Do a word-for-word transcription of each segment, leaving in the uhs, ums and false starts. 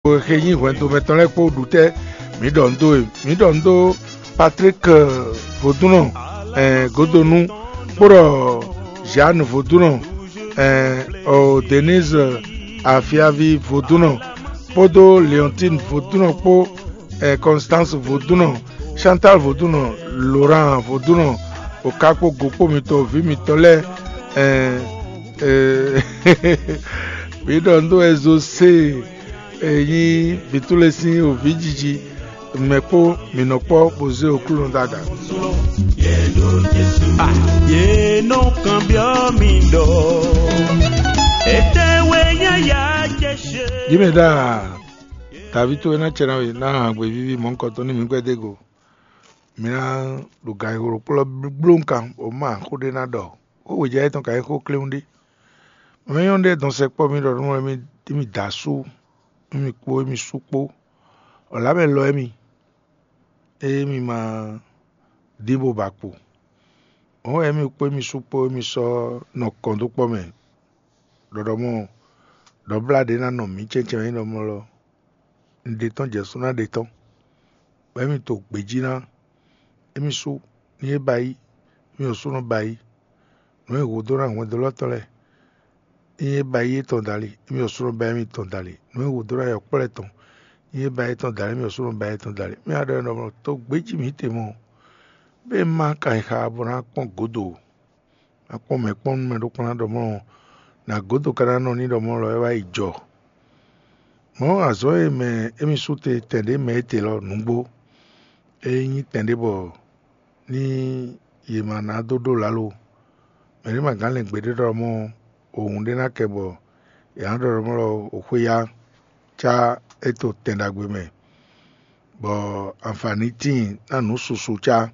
Xe nyí hwɛndo mɛtɔn lɛ́ɛ kpó ɖu tɛ́ mǐ ɖɔ nǔ dó e? Mǐ ɖɔ nǔ dó Patrick Vodúnɔ Godonu, kpó ɖɔ Jeanne Vodúnɔ, Denise Afiavi Vodúnɔ, kpódó Leontine Vodúnɔ kpó, Constance Vodúnɔ, Chantal Vodúnɔ, Laurent Vodúnɔ, okákpó gokpó mitɔn, vǐ mitɔn lɛ́ɛ. Mǐ ɖɔ nǔ dó wɛ Zosée e nyí Bǐtúle sín wǒvíjiji mɛ kpó mǐ nɔ kpɔ́ bó zé Aklúnɔ dó aga. Yě nɔ kanbyɔ́ mi ɖɔ: Étɛ́ wɛ nyí yá jɛ ṣe? Jǐmɛdá, Daví towe ná cɛ ná we ná han gbe víví mɔ̌hunkɔtɔn ní mǐ gbɛ́ dó go. Mi ná ɖo ganxixo ɖokpó lɔ blóŋkan bɔ má xó ɖé ná ɖɔ. Xó wějɛ étɔn ka nyí xó kléwún ɖé. Mɛ nyɔ́nu ɖé dɔn sɛkpɔ́ mì ɖɔ nú mì da asú, émi kpó émi sú kpó, ɔ̌ lá mɛ lɔ émi, ée mi ma dín bó ba kpo. Hɔn émi kpó émi sú kpó émi sɔ́ nɔ kɔn dó kpɔ́ mɛ ɖɔɖɔmɔ ɖɔ blá ɖě ná nɔ mǐ cɛ́ncɛ́n nyí ɖɔmɔ lɔ. Un ɖe tɔ́n jɛ sú ná ɖe tɔ́n, bɔ émi to gbějí ná. Émi sú ní é ba yí, émi ɔ́ sú nɔ ba yí. Nǔ e hǔ dó ná hwɛndo lɔ́ tɔn lɛ́ɛ, ní é ba yí étɔn dali, émi ɔ́ sú nɔ ba émi tɔn dali. Nǔ e hǔ dó ná yɔkpɔ́lɛ tɔn, ní é ba étɔn dali, émi ɔ́ sú nɔ ba étɔn dali. Mí wá ɖɔ énɛ́ ɖɔ mɔ̌, tó gbéjí mǐ tɛnmɛ ɔ́, bɛ́ má ka nyi xá bó ná kpɔ́n gǒdo. Má kpɔ́n mɛ kpɔ́n nú mɛ ɖó kplɔ́n ná ɖɔ mɔ̌, nǎ gǒdo ka ná nɔ ní ɖɔ mɔ̌ lɔ é wá yi jɔ. Mɔ̌ azɔ̌ e mɛ émí sú te tɛn ɖě mɛ étɛ́ lɔ nǔgbó, é nyí tɛn ɖé bɔ ní yě ma ná dó ɖó lǎlo. Mɛ ɖé ma gán lɛn gbeɖé ɖɔ mɔ̌, òhun ɖé ná kɛ bɔ yě ná ɖɔ ɖɔ mɔ̌ lɔ xwéyá cá é to tɛn ɖagbe mɛ, bɔ anfǎní tíin ná nǔ susu cá.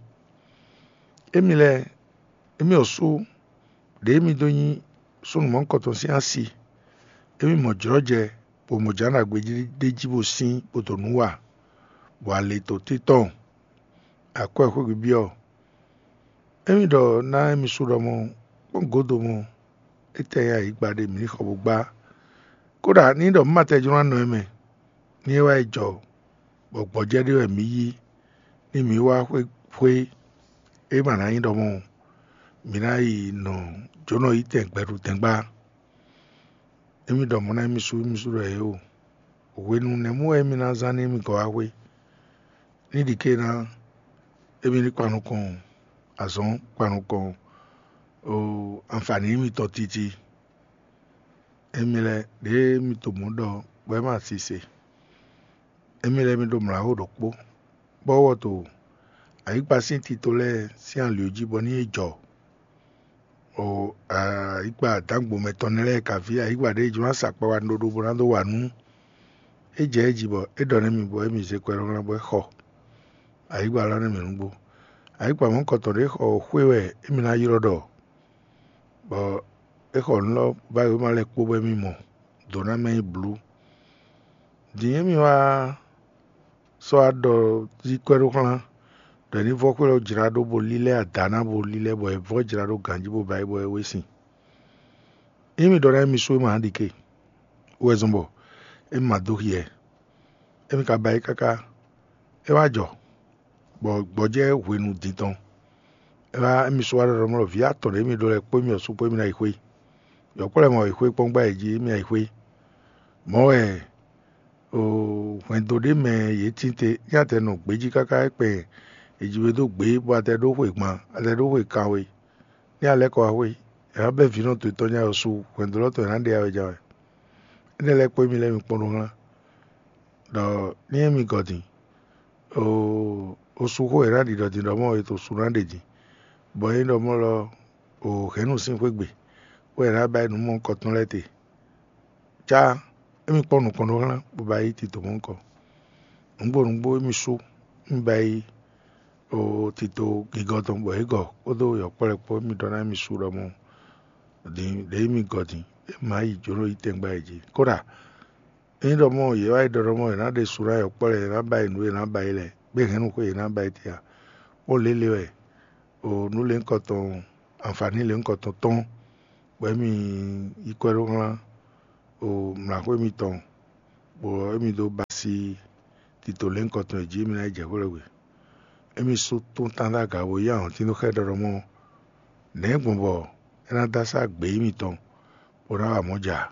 Émi lɛ́ɛ, émi ɔ́ sú ɖěe mi dó nyí súnnu mɔ̌hunkɔtɔn sín asi, émi mɔ jlɔ́jɛ, bɔ mɔ jǎn ɖagbe ɖé jí bó sín bó dó nǔ wa, bɔ ale to títɔn, akwɛ́ xwé byɔ́. Émi ɖɔ ná émi sú ɖɔ mɔ̌, kpɔ́n gǒdo mɔ̌, étɛ́ nyí ayǐgba ɖé mǐ ní xɔ bó gbá. Kódà ní ɖɔ mǐ ma tɛ jló ná nɔ ɛ mɛ, ní é wá yi jɔ, bɔ gbɔjɛ́ ɖé wɛ mǐ yí, ní mǐ wá xwé xwé é ma ná nyí ɖɔ mɔ̌, mǐ ná yi nɔ jǒnɔ yí tɛn gbɛɖutɛngba. Émi ɖɔ mɔ̌ ná émi sú émi sú ɖɔ yě o. Hwenu nɛ̌ mɔ wɛ émi ná zán nú émi gɔ́ wá xwé? Ní ɖi ké ná émi ní kpan nukɔn azɔ̌ kpan nukɔn anfǎní mitɔn titi. Émi lɛ́ɛ ɖěe mi to mɔ̌ ɖɔ bɔ é ma sise. Émi lɛ́ɛ mi ɖo mlǎxó ɖokpó, bɔ wɔ to ayǐkpa sín tito lɛ́ɛ sín ali jí bɔ ní é jɔ. O ayǐkpa dǎngbomɛ tɔn nɛ́ lɛ́ɛ ka ví ayǐkpa ɖěe jló ná sa kpa wa ɖoɖo bó ná dó wa nú é jɛ é jí bɔ é ɖɔ nú émi bɔ émi zé kwɛ́ ɖɔhlan bɔ é xɔ ayǐkpa lɔ nú mǐ nǔgbó. Ayǐkpa mɔ̌hunkɔtɔn ɖě xɔ xwé wɛ émi ná ylɔ́ ɖɔ, bɔ é xɔ nǔ lɔ bá wěma lɛ́ɛ kpó bɔ émi mɔ dǒ ná mɛ nyi blǔ. Din émi wá sɔ́ wá ɖɔ zí kwɛ́ ɖó xlán, ɖɔ è ní vɔ́ xwé lɔ jlá ɖó bo lílɛ́ ada ná bo lílɛ́ bɔ è vɔ́ jlá ɖó ganjí bó ba yi bɔ é wé sin. Ényí mi ɖɔ ná émi sú é ma ɖi ke, wɛ zɔn bɔ émi ma dó hyɛ. Émi ka ba yi káká, é wá jɔ, bɔ gbɔjɛ́ hwenu din tɔn. É wá émi sú wá ɖɔ ɖɔ mlɔ vǐ atɔn ɖě mi ɖó lɛ́ɛ kpó émi ɔ́ sú kpó émi ná yi xwé. Yɔ̌kpɔ́ lɛ́ɛ mɔ yi xwé kpɔ́n gbá yě jí émi ná yi xwé. Mɔ̌ wɛ hwɛndo ɖé mɛ yě tín te, nyí atɛ nɔ gbějí káká é kpɛ è ji we dó gbě, bɔ atɛ ɖó xwe gban, atɛ ɖó xwe kanwe. Ní a lɛ́ kɔ wá xwé, è nǎ bɛ́ vǐnɔ towe tɔn nyá ɔ́ sú, hwɛndo lɔ tɔn è nǎ ɖe awɛja wɛ. Énɛ́ lɛ́ɛ kpó émi lɛ́ɛ mi kpɔ́n ɖó xlán, ɖɔ ní émi gɔ́ din, oo, osu xó è nǎ ɖi ɖɔ din ɖɔ mɔ è to su ná ɖe din, bɔ é ɖɔ mɔ lɔ o hɛ̌nnu sín xwé gbe, bɔ è nǎ ba yi nǔ mɔ kɔtɔn lɛ́ɛ te. Cá émi kpɔ́n nukɔn ɖó xlán bó ba yi tito mɔ̌ kɔ. Nǔgbó nǔgbó émi sú émi ba yi o tito gigɔ tɔn bɔ é gɔ kpódó yɔ̌kpɔ́lɛ kpó émi ɖɔ ná émi sú ɖɔ mɔ din ɖě émi gɔ din é má yi jǒnɔ yi tɛngbá yě jí. Kódà ényí ɖɔ mɔ yě wá yi ɖɔ ɖɔ mɔ yě ná ɖe su ná yɔ̌kpɔ́lɛ yě ná ba yi nǔ e yě ná ba yi lɛ, gbé hɛ̌nnu xwé yě ná ba yi te ǎ, bó lě lě wɛ o nǔ lěhunkɔtɔn anfǎní lěhunkɔtɔn tɔn, bɔ émi yi kwɛ́ ɖó xlán o mlǎxwé mitɔn bɔ émí dó basi tito lɛ́nkɔ tɔn e jí émí ná yi jɛ xwé lɔ gbe. Émí sú tún tándága bó yí ahɔ̌ntín dó xá ɛ ɖɔ ɖɔ mɔ nɛ̌ gbɔn bɔ é ná dó asá gbě émítɔn bó ná wa mɔ̌ ja.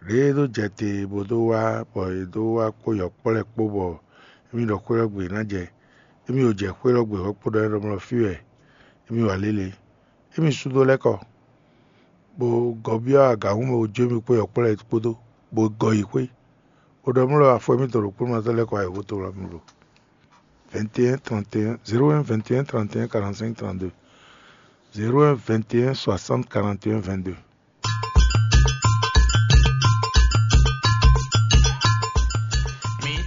Ɖěe é dó jɛ te bó dó wá bɔ è dó wá kpó yɔ̌kpɔ́ lɛ́ɛ kpó bɔ émí ɖɔ xwé ɔ́ gbe ná jɛ, émí o jɛ xwé ɔ́ gbe hɔ̌kpo ɖɔ é ɖɔ mlɔ fí wɛ émí wa lélẹ̀. Émí sú dó lɛ́ kɔ, bó gɔ́ byɔ́ agǎhún mɛ bó jó émí kpó yɔ̌kpɔ́ lɛ́ɛ kpódó, bó gɔ yi xwé. Bó ɖɔ mlɔ afɔ émítɔn ɖokpónɔtɔ́ lɛ́ɛ kɔ ayǐhúnto wlá mì ɖo vingt et un trente et un, zéro un vingt et un trente et un quarante-cinq trente-deux, zéro un vingt et un soixante quarante et un vingt-deux.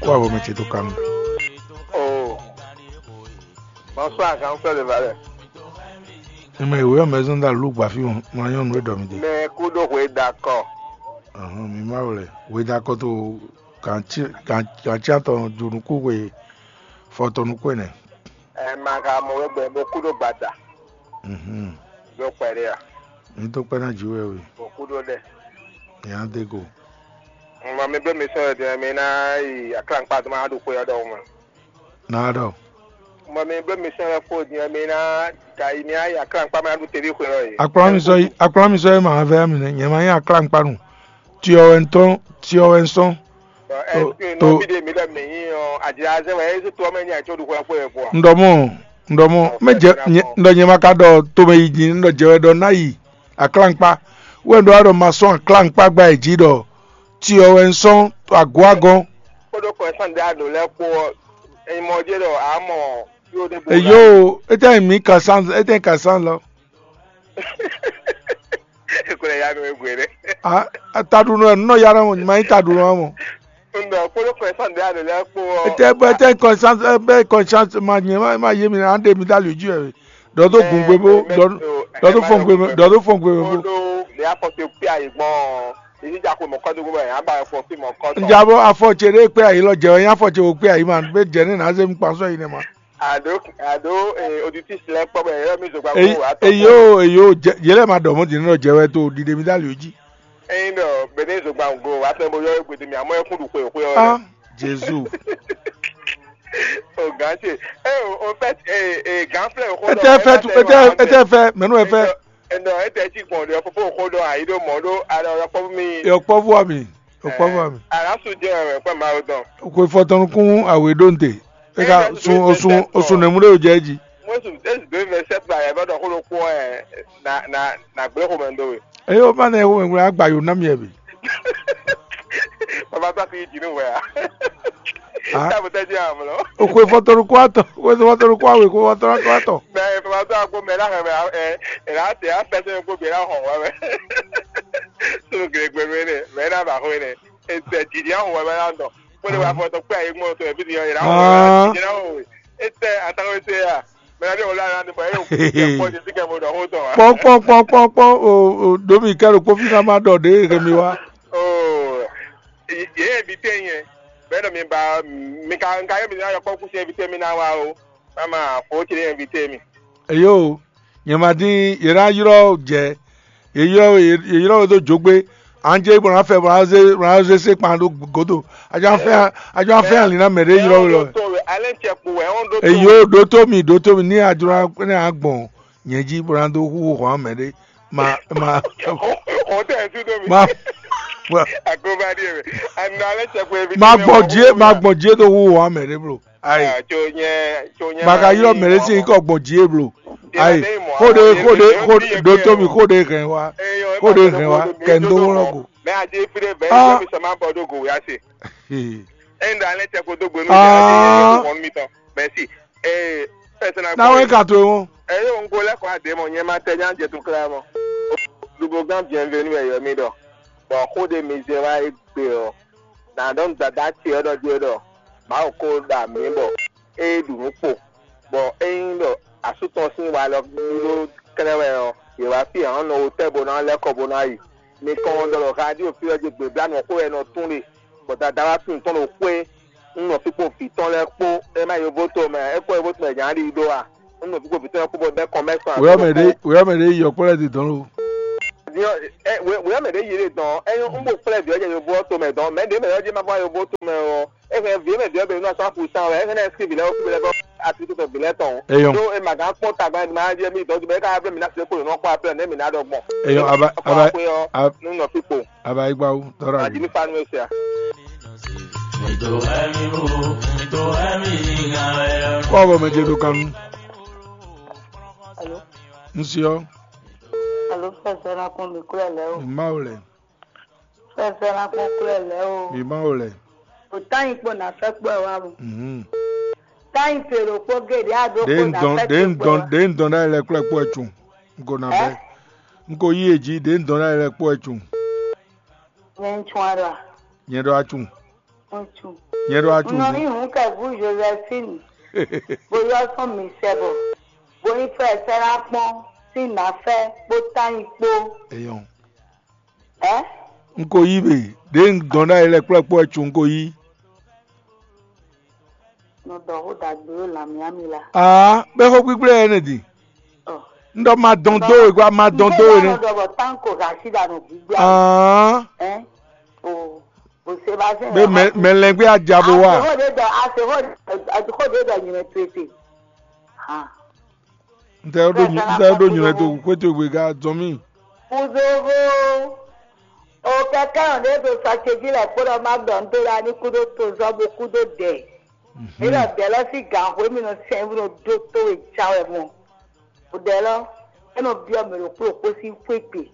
Kó avɔ mɛ ce dó kanu. Oh, bonsoir, grand frère de valeur. Ime ìwé ɔ́ mɛ zɔn dá lú gba fí wọn, mlá nyɔnu e ɖɔ mi dé. Mais kudo hwe dakɔ. Ahɔn mi ma wlɛ weda kɔto kantsi atɔ dunukú hwe fɔtɔnukú ɛnɛ. Ɛ ma ka mɔ wegbe bo kudo gbada. Mhm. Do kpɛɖe a. Mi tó kpɛ ná ju wɛ we. Bo kudo ɖe. Mi á dé go. Ŋmɔ mi bɛ mi sɔn ɖe mi ná yi aklankpa tó ma ɖo xwe ɔ́ ɖɔhun mɛ. Na ɖɔ. Ŋmɔ mi bɛ mi sɔn ɖe fo din mi ná ka yi mi á yi aklankpa ma ɖo tevi xwe ɔ́ yi. Akplɔ mi sɔ yi, akplɔ mi sɔ yi ma vɛ mi nɛ, nyɛ ma yi aklankpa nu. Tiɔ wɛ ntɔn, tiɔ wɛ nsɔn. Ɛseke nɔvi ɖe mi ɖɔ mi nyi ɔ adzrazɛ wɛ esi to ɔmɛ nya tso ɖu xɔ ɛkpɔ yɛ fɔ. Ndɔmɔ, ndɔmɔ, mɛ jɛ, ndɔ nyɛ ma ka ɖɔ tomɛ yi dzi, ndɔ jɛ wɛ ɖɔ ná yi aklankpa. Wɛ ɖɔ aɖɔ ma sɔn aklankpa gba yi dzi ɖɔ tiɔ wɛ nsɔn agɔ agɔn. Kódó kɔ ɛsán ɖe aɖo lɛ kpó ɔ, ɛyin mɔ dzi ɖɔ amɔ yóò ɖe bo. Eyo, ete mi ka san, ete ka san lɔ. Ekplɛ ya nɔ egbe ɖe. Ah, taɖunɔ ɛ nɔ ya ɖe mo, ma yi taɖunɔ mo. Ŋdɔ kpolo kɔɛ sɔn ɖe alo lɛ kpo ɔ. Ete bɛ ete conscience, ebe conscience ma nye ma ma ye mi na ɖe mi da lu ju ɛ. Dɔ do gun gbe bo, dɔ do fɔn gbe, dɔ do fɔn gbe bo. Kpolo ɖe afɔ te kpe ayi gbɔn. Èyí dza ko mɔkɔ do gbɔ yà gba fɔ fi mɔkɔ tɔ. Nja bo afɔ tse ɖe kpe ayi lɔ jɛ, nya afɔ tse wo kpe ayi ma, be jɛ ne na ze mi kpa sɔ yi ne ma. Ado ado eh, auditrice lɛ kpɔ bɛ yɛ mi zogba Eyi ko wa tɔ. eyo eyo jɛ, yɛlɛ ma dɔ mo di ne dɔ jɛ wɛ to ɖiɖe mi da lu ji. Eyin dɔ bɛ ne zogba go wa tɔ bo yɔ egbe de mi amɔ ekun du xwe xwe ɔ. Ah, Jésus. O gan ce. Eh o o fait eh eh gan flɛ o ko. Ete fɛ tu, ete ete fɛ, mɛnu ɛ fɛ. Ɛnɔ ete ti gbɔn ɖe fofo o ko ɖɔ ayi ɖo mɔ ɖo alɔ yɔ kpɔ mi. Yɔ kpɔvu ami, yɔ kpɔvu ami. Alasu jɛ wɛ kpɛ ma o dɔn. Ko fɔtɔnukun awe ɖo nte. Eka sun osun osun nemu ɖe o jɛ ji. Mɔsu esi do vingt sept ba yɛ bɛ dɔ ko ɖo kpɔ ɛ na na na gblẽ xɔmɛ ndo we. Eye o ma ne xɔmɛ ŋlɛ agba yo na mi ɛ bi. Baba tó a ti yi dinu wɛ a. Ah. Tábù tẹ́ di àmọ́ lọ. O ko fɔtɔnukun atɔ, ko fɔtɔnukun awe, ko fɔtɔnukun atɔ. Mɛ baba tó a gbó mɛ náà mɛ ɛ ɛ láti á fẹ́ sẹ́yìn gbó bìí náà hàn wá mẹ́. Tó gèrègbè mi nì mẹ́ náà bà hó nì. Ètò ẹ̀jì ní àwọn wá mẹ́ náà dọ̀. Kó lè wá fọ́ tó pé àyè gbọ́n tó ẹ̀bí nìyẹn yẹn náà wọ̀ wá. Yẹn náà wọ̀ wẹ̀. Ètò àtàwọn ètò yà. Mɛ náà dé wọ́n lára ní bọ̀ ẹ̀ yóò kú. Ẹ̀ pọ̀ ní síkẹ́ mo dọ̀ hó tọ̀ wá. Pɔn pɔn pɔn pɔn pɔn o o domi kɛro kpofi na ma dɔ de ke mi wa. Oh, yɛ invité yẹn. Bẹ́ẹ̀ mi ba mi ka nka yẹ mi náà yọ kpɔkú sí invité mi náà wá o. Mama fo ti invité mi. Eyo, nyɛ ma dín yɛ ná yrɔ jɛ, yɛ yrɔ yɛ yrɔ do jogbe, an jɛ bɔ na fɛ bɔ na ze bɔ na ze se kpan do godo. Ajɔ an fɛ ajɔ an fɛ ali na mɛ de yrɔ we lɔ. Alẹ́ ń tẹ kpo ẹ̀ ń dó tó. Eyo, do to mi do to mi ni ajɔ ne a gbɔn nyɛ ji bɔ na do hu hɔn mɛ de. Ma ma Ọ̀ tẹ̀ ẹ́ sí dó mi. ma ma Àgọ́bá díẹ̀ rẹ̀. Àná alẹ́ ń tẹ kpo ẹ̀ fi. Ma gbɔn die ma gbɔn die do hu hɔn mɛ de blo. Ayi. Tso nyɛ tso nyɛ. Ma ka yrɔ mɛ de si kɔ gbɔn die blo. Ayi. Xode xode xode do to mi xode hɛn wa. Xode hɛn wa kɛ n do wlɔ go. Mɛ adi fi de bɛ Ah. mi sɔ ma bɔ do go ya se. Ee. Enda alẹ́ ń tẹ kpo dó gbenu. Ah. Adi mi tɔn. Merci. Ee. Pɛsɛnɛ. Na wɛ ka to wọn. Eye ŋgo lɛ kɔ ade mɔ nyɛ ma tɛ nya jɛ tun kla mɔ. Dubogan bienvenue ɛ yɔ mi dɔ. Bɔn xo de mi zɛ wa egbe ɔ. Na dɔn dada ti ɔ dɔ die dɔ. Ma o ko da mi bɔ. E du nu kpo. Bɔn eyin dɔ asu tɔn sin wa lɔ dúró kɛnɛ wɛ ɔ. Yɛ wa fi hàn nɔ wo tɛ bo na lɛ kɔ bo na yi. Mi kɔn dɔ lɔ radio fi ɔ je gbe bla nɔ xo ɛ nɔ tún le. Bɔn dada wa tún tɔn lo xwe. N nɔ fi kpo fi tɔn lɛ kpo. E ma yovo to mɛ. E kɔ yovo to mɛ nya ɖi do wa. N nɔ fi kpo fi tɔn lɛ kpo bɔ bɛ kɔn mɛ sɔn. Wòyɔ mɛ ɖe wòyɔ mɛ ɖe yɔ kpɔ lɛ di dɔn lo. Nyɔ, ɛ, wě wě mɛ ɖě yi ɖe dɔn, é nyɔ́ un bo kplɛ́ vǐ ɔ́ jɛ yovo ɔ́ tomɛ dɔn, mɛ ɖě mɛ ɔ́ jɛ ma vɔ yovo tomɛ ɔ́, é hɛn vǐ mɛ vǐ ɔ́ bɛ nɔ sɔ́ fu sán wɛ, é hɛn ná ɛskri vǐ lɛ́ɛ wú vǐ lɛ́ɛ bɔ atlíkítɔ vǐ lɛ́ɛ tɔn. Eyɔn. Ɖó é ma gán kpɔ́n tagba ma jɛ mì dɔn jumɛ, é ka bló mì ná se kpo nɔ kpɔ́ ablɛ nɛ́ mì ná ɖɔ gbɔn. Eyɔn, aba aba xwe ɔ́ aba nú nɔ fí kpo. Aba yi gbawu tɔrɔ. Adi ní fa nú é sia. Kɔ bɔ mɛ ce ɖo kan nu. Alo. N si ɔ́. Alo, fɛsɛ na kpɔn mi kúlɛ lɛ o. Mi ma o lɛ. Fɛsɛ na kpɔn kúlɛ lɛ o. Mi ma o lɛ. O tanyi kpɔ na fɛ kpɔ wa mo. Mhm. Tanyi te ɖo kpɔ gé ɖe a ɖo Ɖe kpɔ n na dɔn fɛ ɖe n kpɔ dɔn wa. Ɖe n dɔn ɖa lɛ kplɛ kpɔ ɛ tun. N ko na bɛ. Ɛ? N ko yí e jí ɖe n dɔn ɖa lɛ kpɔ ɛ tun. Nyɛ n tún ara. Nyɛ ɖɔ a tun. Ŋutsu. Nyɛ ɖo a tún. Nɔ yí hun kɛ vú Josephine. Bo yɔ sɔn mi sɛ bɔ. Bo yí fɛ sɛ na kpɔn sín nafɛ kpó tanyi kpó. Eyɔn. Ɛ? N ko yí be ɖe n dɔn ɖa yi lɛ kplɔ́ kpɔ́ ɛ tún n ko yí. Nɔ dɔ xó dagbe ɖo lanmɛ ami la. Aa, bɛ xó kpíkplé ɛ ne di. Ɔ. N ɖɔ ma dɔn dó we gba ma dɔn dó we ne. Nɔ dɔ bɔ tanko gasi da nɔ gbígbá. Aa. Ɛ? O. Bó se bá zɛn. Be mɛ mɛ lɛngbé a ja bo wa. Ase xó de dɔ ase xó de dɔ nyɛ to ete. Han. N tɛ ɖo nyi n tɛ ɖo nyɛ to xwé to gbe ga zɔn mì. Kuzovo. O kɛkɛ ɔn ɖe do sɔ ce jí lɛ kpó ɖɔ má ɖɔ n do ɖa ní kúdó tozɔ bo kúdó dɛ. Mí ɖɔ dɛ lɔ sí gǎn xwé mí nɔ sɛn bó nɔ dó tó we já wɛ mɔ. O dɛ lɔ é nɔ byɔ́ mɛ ɖokpó ɖokpó sín xwé gbe.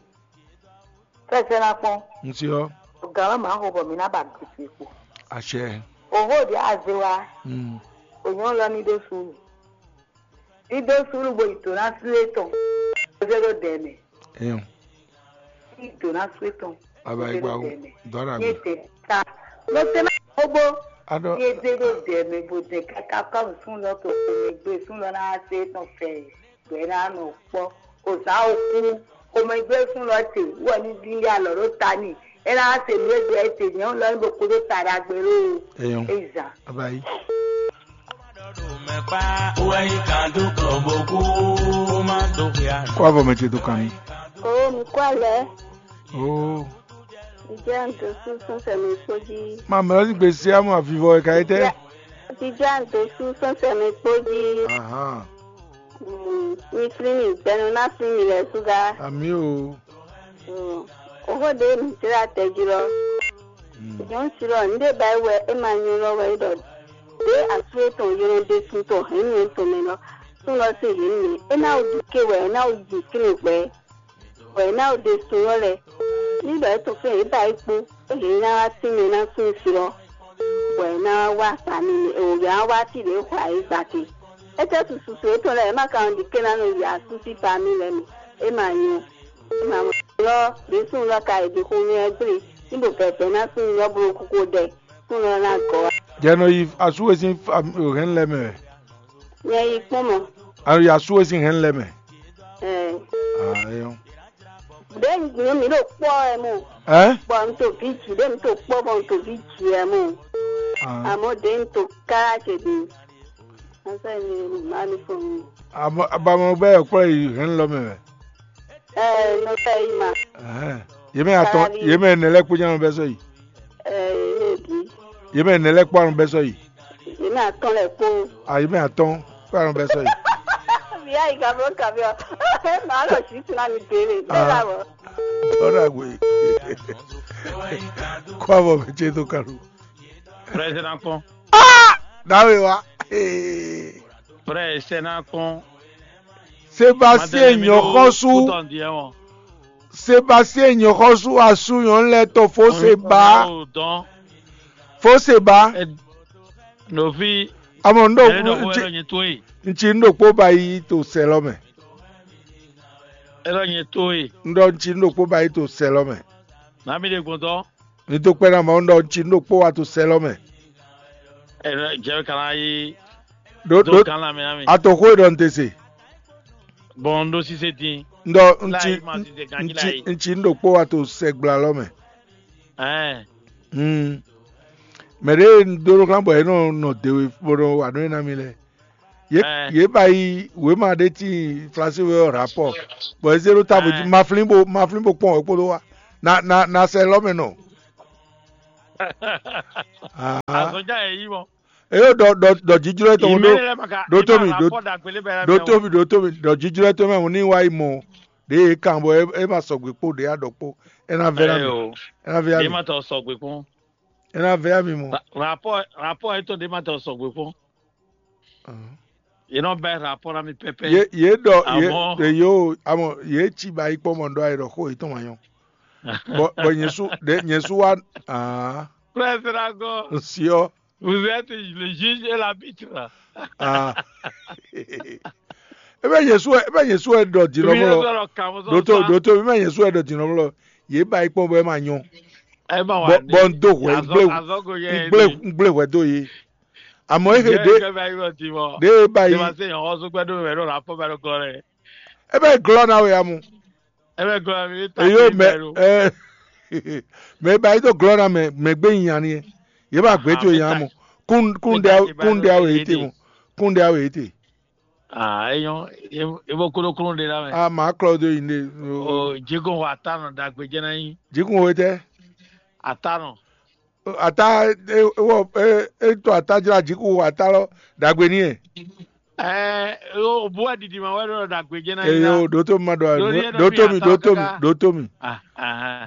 Fɛsɛ ná kpɔn. N si ɔ́. Gǎn ɔ́ mǎ xo bɔ mǐ ná ba gěgé kpo. Àṣẹ. Òhó ɖě aze wa. Mm. Ònyɔ́ lɔ ní ɖó suúlu. Ní ɖó suúlu bo yi dǒ ná sú étɔn. Bó zé ɖó dɛ̌ mɛ. Eyɔn. Ní dǒ ná sú étɔn. Baba yi gba wo. Dɔn na Ní gbe. Ètè ta. Ló tẹ́ náà kóbó. Adɔ. Ní ètè ɖó dɛ̌ mɛ bó dɛ káká kɔ́ sún lɔ tó kò mɛ gbé sún lɔ ná sé tɔn fɛ. Bɔ é ná nɔ kpɔ́. Kò zǎn okú, xomɛgbésún lɔ ce wɛ ní ɖíɖí alɔ ɖó ta n'i. É ná se nǔ e ɖɔ é ce nyɛ lɔ ní ɖo kúdó ta ɖagbe lóo. Eyɔn. É zǎn. Abayi. Kó avɔ mɛ ce dó kan ní. Oo, mi kó alɛ. Oo. Vijɛ ndo sú sɔnsɛ mi kpó jí. Mamɛ ɔ́ sín gbèsè amú avivɔ wɛ ka é tɛ́? Vijɛ ndo sú sɔnsɛ mi kpó jí. Ahán. Mm, mi flín mi gbɛnu ná flín mi lɛ súgá. Amí o. Mm, oxó ɖé mi jlá tɛjlɔ́. Mm. Nyɔ̌nu si lɔ, nǔ ɖé ba é wɛ é ma nyɔ́ lɔ wɛ é ɖɔ. Ɖě asú étɔn ylɔ́ ɖésú tɔn hɛ̌nnu étɔn mɛ lɔ, súnnu lɔ sín hɛ̌nnu mɛ, é ná wú ɖi ké wɛ, é ná wú ɖi kínní gbɛ. Bɔ è ná ɖe sun ɔ́ lɛ́ɛ. Ní ɖɔ é tɔn fɛ́n yě ba é kpó, é yě ná wá tínmɛ ná sín sin ɔ́, bɔ è ná wá wá akpa n'i, è wǒ ná wá fí ɖě xɔ ayǐ gba te. Étɛ́ susu su étɔn lɛ́ɛ é ma ka nɔ ɖi ké ná nɔ yi asú sín famí lɛ́ɛ mɛ? É ma nyɔ. É ma mɔ lɔ ɖě sun lɔ ka è ɖi xomɛ ɔ́ gblé, ní ɖo vɛ̌vɛ́ ná sun lɔ bló kókó ɖɛ, sun lɔ ná gɔ́ wá. Jɛ nɔ yi asú e sín hɛn lɛ́ɛ mɛ wɛ. Nyɛ yi kpɔ́n mɔ. A nɔ yi asú e sín hɛn lɛ́ɛ mɛ. Ɛɛ. Ah, eyɔn. Ɖě nyɛ mi ɖo kpɔ́ ɛ mɔ. Ɛ? Bɔ n to vǐ jǐ ɖě n to kpɔ́ bɔ n to vǐ jǐ ɛ mɔ. Ah. Àmọ́ ɖě n to kára ce ɖe. N fẹ́ mi ma mi fɔ mi. Àmọ́ abamɔ bɛ yɔ kpɔ́ yi hɛn lɔ mɛ wɛ. Ɛɛ, n fẹ́ yi ma. Ɛhɛn. Yě mɛ atɔn, Karabi. Yě mɛ ɛnɛ lɛ́ɛ kpó nyá bɛ sɔ yi. Ɛɛ, yě mɛ bǐ. Yě mɛ ɛnɛ lɛ́ɛ kpó anɔ bɛ sɔ yi. Yě mɛ atɔn lɛ́ɛ kpó. A yě mɛ atɔn kpó anɔ bɛ sɔ yi. Via yi gablo kabi ɔ. Maa lɔ si tuna mi dele. Ah. Bɛɛ la wɔ. Dɔn agbe. Kó avɔ mɛ ce dó kalo. Président kpɔn. Ah! Dawe wa. Ee. Président kpɔn. Sébastien nyɔxɔsu. Sébastien nyɔxɔsu asu nyɔnu lɛ tɔ fo seba. Fo seba. Nɔvi. Amɔ n ɖo n tsi n ɖo kpó ba yi to sɛ lɔ mɛ. N ɖɔ n tsi n ɖo kpó ba yi to sɛ lɔ mɛ. Nami ɖe gbɔn dɔ. Mi dó kpɛ́ ná Mawu ɖɔ un cí nú ɖokpó wá to sɛ lɔ mɛ. Jɛ kana yi. Ɖó ɖó kan na mi na mi. Atoxó e ɖɔ un te se. Bɔn un ɖó sise dín. Ɖɔ un cí un cí un cí nú ɖokpó wá to sɛgbla lɔ mɛ. Ɛɛ. Hmm. Mɛ ɖé un dó ɖó xlán bɔ é nɔ nɔ dewe bó nɔ wa nú é ná mi lɛ. Yě ba yi wěma ɖé tíin Flasin wɛ ɔ́ rapɔ, bɔ é zé ɖó távo jí, ma flín bo ma flín bo kpɔn wɛ kpódó wa. Na na na sɛ lɔ mɛ nɔ. Ah. Azɔn ja yɛ yi mɔ. Eyo ɖɔ ɖɔ ɖɔ jijlɔ etɔn Ime ɖo lɛ ma ka ɖo ima tomi ɖo rapɔ ɖagbe lé bɛ ɖo tomi ɖo tomi ɖɔ jijlɔ etɔn mɛ ní wa yi mɔ ɖe ye kan bɔ e ma sɔgbe kpo ɖe ya ɖɔ kpo. E na vɛ na mi. Eyo. E na vɛ ya Ɖe mi. Ma tɔ sɔgbe kpɔn. E na vɛ ya mi mɔ. Rapɔ rapɔ etɔn ɖe ma tɔ sɔgbe kpɔn. Ahɔn. Ye nɔ bɛ rapɔ na mi pɛpɛ. Ye ye ɖɔ ye Amɔ. Ye yo amɔ ye tsi ba yi kpɔ mɔ ɖɔ ayi ɖɔ xo yetɔn ma nyɔ. Bɔ bɔ nyɛ su ɖe nyɛ su wa aa Frère Dragon, nsiɔ vous êtes le juge et l'arbitre. Aa. Ebe nyɛ su ebe nyɛ su ɛ ɖɔ di lɔmɔ lɔ. Ɖoto ɖoto ebe nyɛ su ɛ ɖɔ di lɔmɔ lɔ. Ye ba yi kpɔ bɔ ɛ ma nyɔ. Ẹ ma wà bɔ ní. Bɔ n do hwɛ n gblé Azɔgo yɛ n gblé n gblé hwɛ do ye. Àmọ́ é he ɖé ɖé é ba yi. Ṣé wàá ṣe ìyànwọ́ sógbẹ́ dó mẹ́rin lọ́la fún bẹ́ẹ̀ ló kọ́ rẹ̀? É bá yi glɔ́ ná wɛ ya mu. Ẹ bɛ glɔ́ mi ta Èyí ó mɛ ɛ mɛ ba yi tó glɔ́ ná mɛ mɛ gbé nyi ani yɛ. Yé bá gbé tó yàn mu. Kún kún ɖe awo yé te mu. Kún ɖe awo yé te. Ah, eyɔn, ebo kúlókúló ɖe lá mɛ. A máa klɔ dó yi ne. O jikun xɔ ata nɔ dagbe jɛ na nyi. Jikun xɔ tɛ. Ata nɔ. Ata ewɔ etɔ ata jla jikun xɔ ata lɔ dagbe ni yɛ. Ɛɛ o bu wa didi ma wɛ ɖɔ dagbe jɛ na nyi. Eyo ɖo tó mi ma ɖɔ ɖo tó mi ɖo tó mi ɖo tó mi.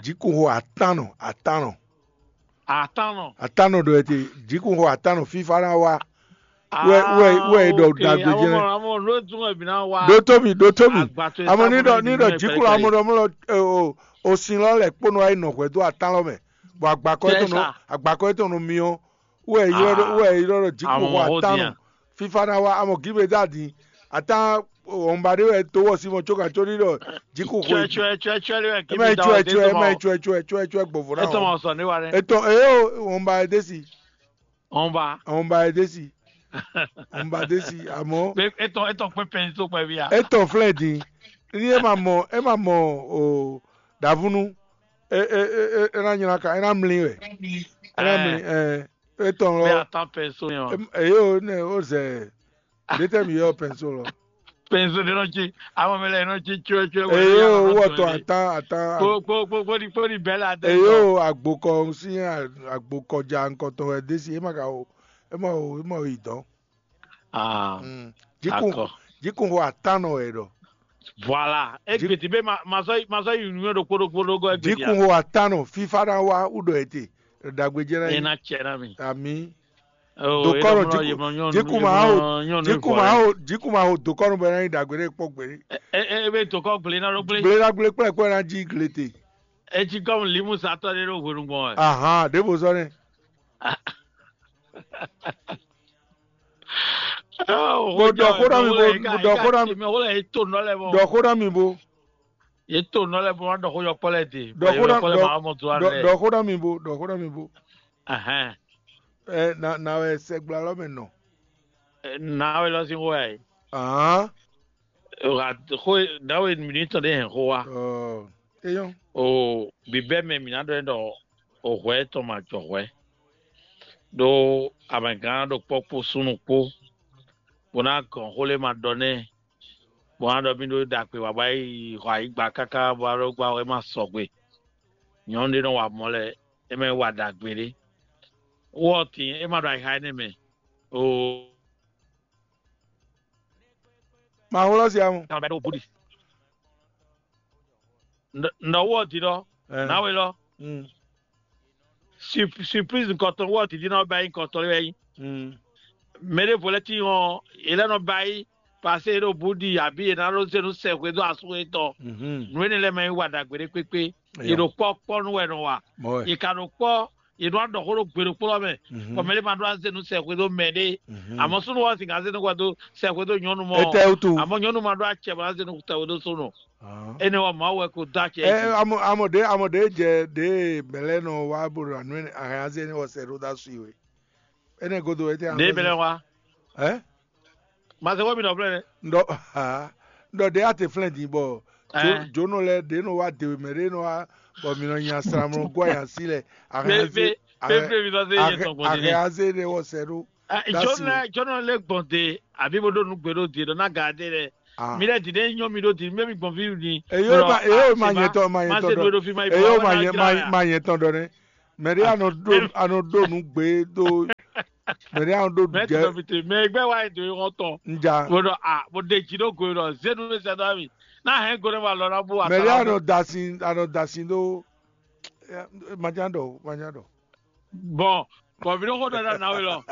Jikun xɔ ata nɔ ata nɔ. Atánɔ. Atánɔ ɖɔ ete, jikun xɔ atánɔ fífá ná wá. Wɛ wɛ wɛ e ɖɔ ɖagbe jɛ. Ɖó tó mi ɖó tó mi. Amɔ ní ɖɔ ní ɖɔ jikun amɔ ɖɔ mɔ o o sin lɔ lɛ kpónɔ ayi nɔ hwɛ dó atán lɔ mɛ, bɔ agbakɔ etɔn nɔ agbakɔ etɔn nɔ miɔ. Wɛ e ylɔ ɖɔ wɛ e ylɔ ɖɔ jikun xɔ atánɔ fífá ná wá. Amɔ gíbe dá din atán wɔnba ɖé wɛ tó wɔ sí mɔ có gǎn có ní ɖɔ jikun xwe. Tsɔɛ tsɔɛ tsɔɛ tsɔɛ lé wɛ kí Ema mi yi da tsɔɛ ɔ tsɔɛ ema yi tsɔɛ tsɔɛ tsɔɛ tsɔɛ gbɔvo ná. Etɔn ma sɔ ne wa ɖe. Etɔn eyo wɔnba e desi. Wɔnba. Wɔnba e desi. Wɔnba desi amɔ. Etɔn etɔn pé pɛn tó pɛ bia. Etɔn flɛ din. Ní ema mɔ ema mɔ o davunu. E e e e ena nyina ka ena mli wɛ. Ena mli ɛ etɔn lɔ. Bɛ atan pɛ so yɛn wa. Eyo ne o zɛ. Ɖé tɛ mi yɔ pɛnso lɔ. Pɛnso ɖé nɔ tsi amɔ mi lɛ nɔ tsi tsyɔ́ tsyɔ́. Eyo wɔ tɔ atan atan. Kpo kpo kpo kpo di kpo di bɛlɛ adé. Eyo agbokɔ si agbokɔ ja nkɔtɔn wɛ desi ema ka o ema o ema o yi dɔn. Ah. Jikun jikun xɔ atan nɔ wɛ ɖɔ. Voilà. Egbeti be ma ma sɔ ma sɔ yi nuyɔ ɖokpo ɖokpo ɖokpo egbeti. Jikun xɔ atan nɔ fifa na wa wú ɖɔ ete. Ɖagbe jɛ na yi. Ena tsɛ na mi. Ami. Dokɔnɔ jikun jikun ma ho jikun ma ho jikun ma ho dokɔnɔ bɛ na yi dagbe ɖe kpɔ gbe. Ebe dokɔ gble na ɖo gble. Gble na gble kplɛ kplɛ na ji gle te. Etsi kɔm limusatɔ ɖe ɖo hwenu gbɔn wɛ. Ahan ɖe bo zɔ nɛ. Bo dɔ xó ɖɔ mi bo dɔ xó ɖɔ mi. Dɔ xó ɖɔ mi bo. Ye to nɔ lɛ bo ma dɔ xó yɔkpɔ lɛ de. Dɔ xó ɖɔ mi bo dɔ xó ɖɔ mi bo. Ahɛn. Ɛ na na wɛ sɛgbla lɔ mɛ nɔ. Na wɛ lɔ sin xó ya yi. Ahán. Xó na wɛ mi ní tɔn ɖe hɛn xó wa. Eyɔn. O bibɛ mɛ mi na dɔ ɖɔ o hwɛ tɔn ma jɔ hwɛ. Ɖo amɛgán ɖo kpɔ kpo súnnu kpo. Bo na gɔn xó lɛ ma dɔ nɛ. Bɔ a ɖɔ mì ɖó ɖagbe wá bɔ a yi xɔ ayǐgba káká bɔ a ɖó gbá wɛ ma sɔgbe. Nyɔ̌nu ɖé nɔ wa mɔ̌ lɛ́ɛ, é mɛ wa ɖagbe ɖé. Wɔ tín é ma ɖo ayixa énɛ́ mɛ. Oo. Ma xlɔ́ sia mu. Kan bɛ ɖo búɖi. Nɔ wɔ di ɖɔ. Nawe lɔ. Surprise nukɔntɔn wɔ di di nɔ bɛ yi nukɔntɔn lɛ yi. Mɛ ɖé vo lɛ ti hɔn, yě lɛ nɔ ba yi. Paseke é ɖo bǔ ɖi abǐ è nǎ ɖó zé nú sɛxwé dó asú yětɔn. Nǔ énɛ́ lɛ́ɛ mɛ nyí wa ɖagbe ɖé kpékpé. Yě ɖo kpɔ́ kpɔ́ nú wɛ nɔ wa. Yě ka ɖo kpɔ́, yě nɔ wá ɖɔ xó ɖó gbe ɖokpó lɔ mɛ. Bɔ mɛ ɖé ma ɖó azé nú sɛxwé dó mɛ ɖé. Àmọ́ súnnu ɔ́ sixá zé nú hwɛ dó sɛxwé dó nyɔ̌nu mɔ. Etɛ wutu. Àmọ́ nyɔ̌nu ma ɖó acɛ bɔ azé nú sɛxwé dó súnnu. Énɛ́ wɔ Mawu wɛ ko dó acɛ. Ɛ amɔ amɔ ɖe amɔ ɖe jɛ ɖe mɛ lɛ nɔ wa bo ɖo anu ahɛn azé ni wɔ sɛ ɖó dá su yi we. Énɛ́ godo etɛ. Ɖe mɛ lɛ wa. Ɛ. Mase wɔ mi nɔ flɛ nɛ. Ndɔ ha ndɔ ɖe ate flɛ din bɔ jonɔ lɛ ɖe nɔ wa dewe mɛ ɖe nɔ wa bɔ mi nɔ nya sramlɔ gwa ya si lɛ. Ahɛn azé ahɛn azé ɖe wɔ sɛ ɖó. Jɔnu lɛ́ɛ jɔnu lɛ́ɛ gbɔn de, àbí bó ɖó nǔ gbe ɖó de ɖɔ ná ga dé lɛ. Mi lɛ́ dǐ ɖé nyɔ́ mi ɖó dǐ mɛ mi gbɔn fí ni. Eyo ma eyo ma nyɛ tɔn ma nyɛ tɔn ɖɔ. Eyo ma nyɛ ma nyɛ tɔn ɖɔ nɛ. Mɛ ɖé anɔ ɖó anɔ ɖó nǔ gbe ɖó. Mɛ ɖé anɔ ɖó nǔ jɛ. Mɛ gbɛ wa yi do yi xɔ tɔn. Nja. Bó ɖɔ a bó ɖe jí ɖó go yi ɖɔ zénu mi sɛ dɔ mi. Ná hɛn go ɖé ma lɔ ná bó. Mɛ ɖé anɔ da sin anɔ da sin ɖó. Majan ɖɔ majan ɖɔ. Bɔn bɔn mi ɖo xó ɖɔ ɖa na we lɔ.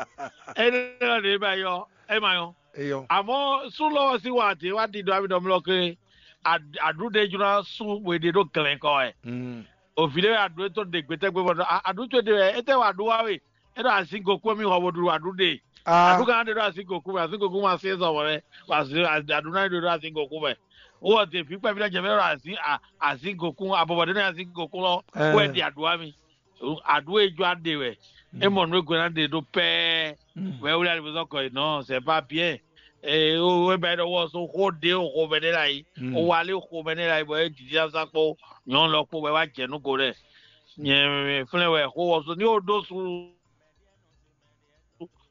Énɛ́ lɔ ɖě ma yɔ é ma yɔ. Eyɔ. Àmọ́ sú lɔ ɔ́ sí wa dě wá ɖi ɖɔ ami ɖɔ mlɔ ké. Aɖu ɖé jló ná sú we ɖe ɖó glɛ̌n kɔ wɛ. Òvi ɖé wɛ aɖu é tó ɖe gbɛtɛgbɛ bɔ aɖu tó ɖe wɛ é tɛ wà ɖu wá we. É ɖo azín gokú mi xɔ bo ɖu aɖu ɖe. Aɖu gán ɖe ɖo azín gokú mɛ azín gokú ma sí zɔ wɔ lɛ. Aɖu ná ɖe ɖo azín gokú mɛ. Wɔ de fi kpɛvi ɖe jɛ mɛ ɖo azín azín gokú abɔbɔ ɖe ní azín gokú lɔ. Wɛ ɖi aɖu wá mi. Aɖu e jɔ aɖe wɛ. E mɔ nú e gwe ná ɖe ɖó pɛɛ. Wɛ wlé ali bó zɔn kɔ yi nɔ c'est pas bien. Ee o wɛ bɛ ɖɔ wɔ so xó ɖe o xó mɛ ɖe la yi. O wa lé xó mɛ ɖe la yi bɔ e didi asa kpó nyɔnu lɔ kpó wɛ wá jɛ nú go ɖɛ. Nyɛ flɛn wɛ xó wɔ so ní o ɖó su.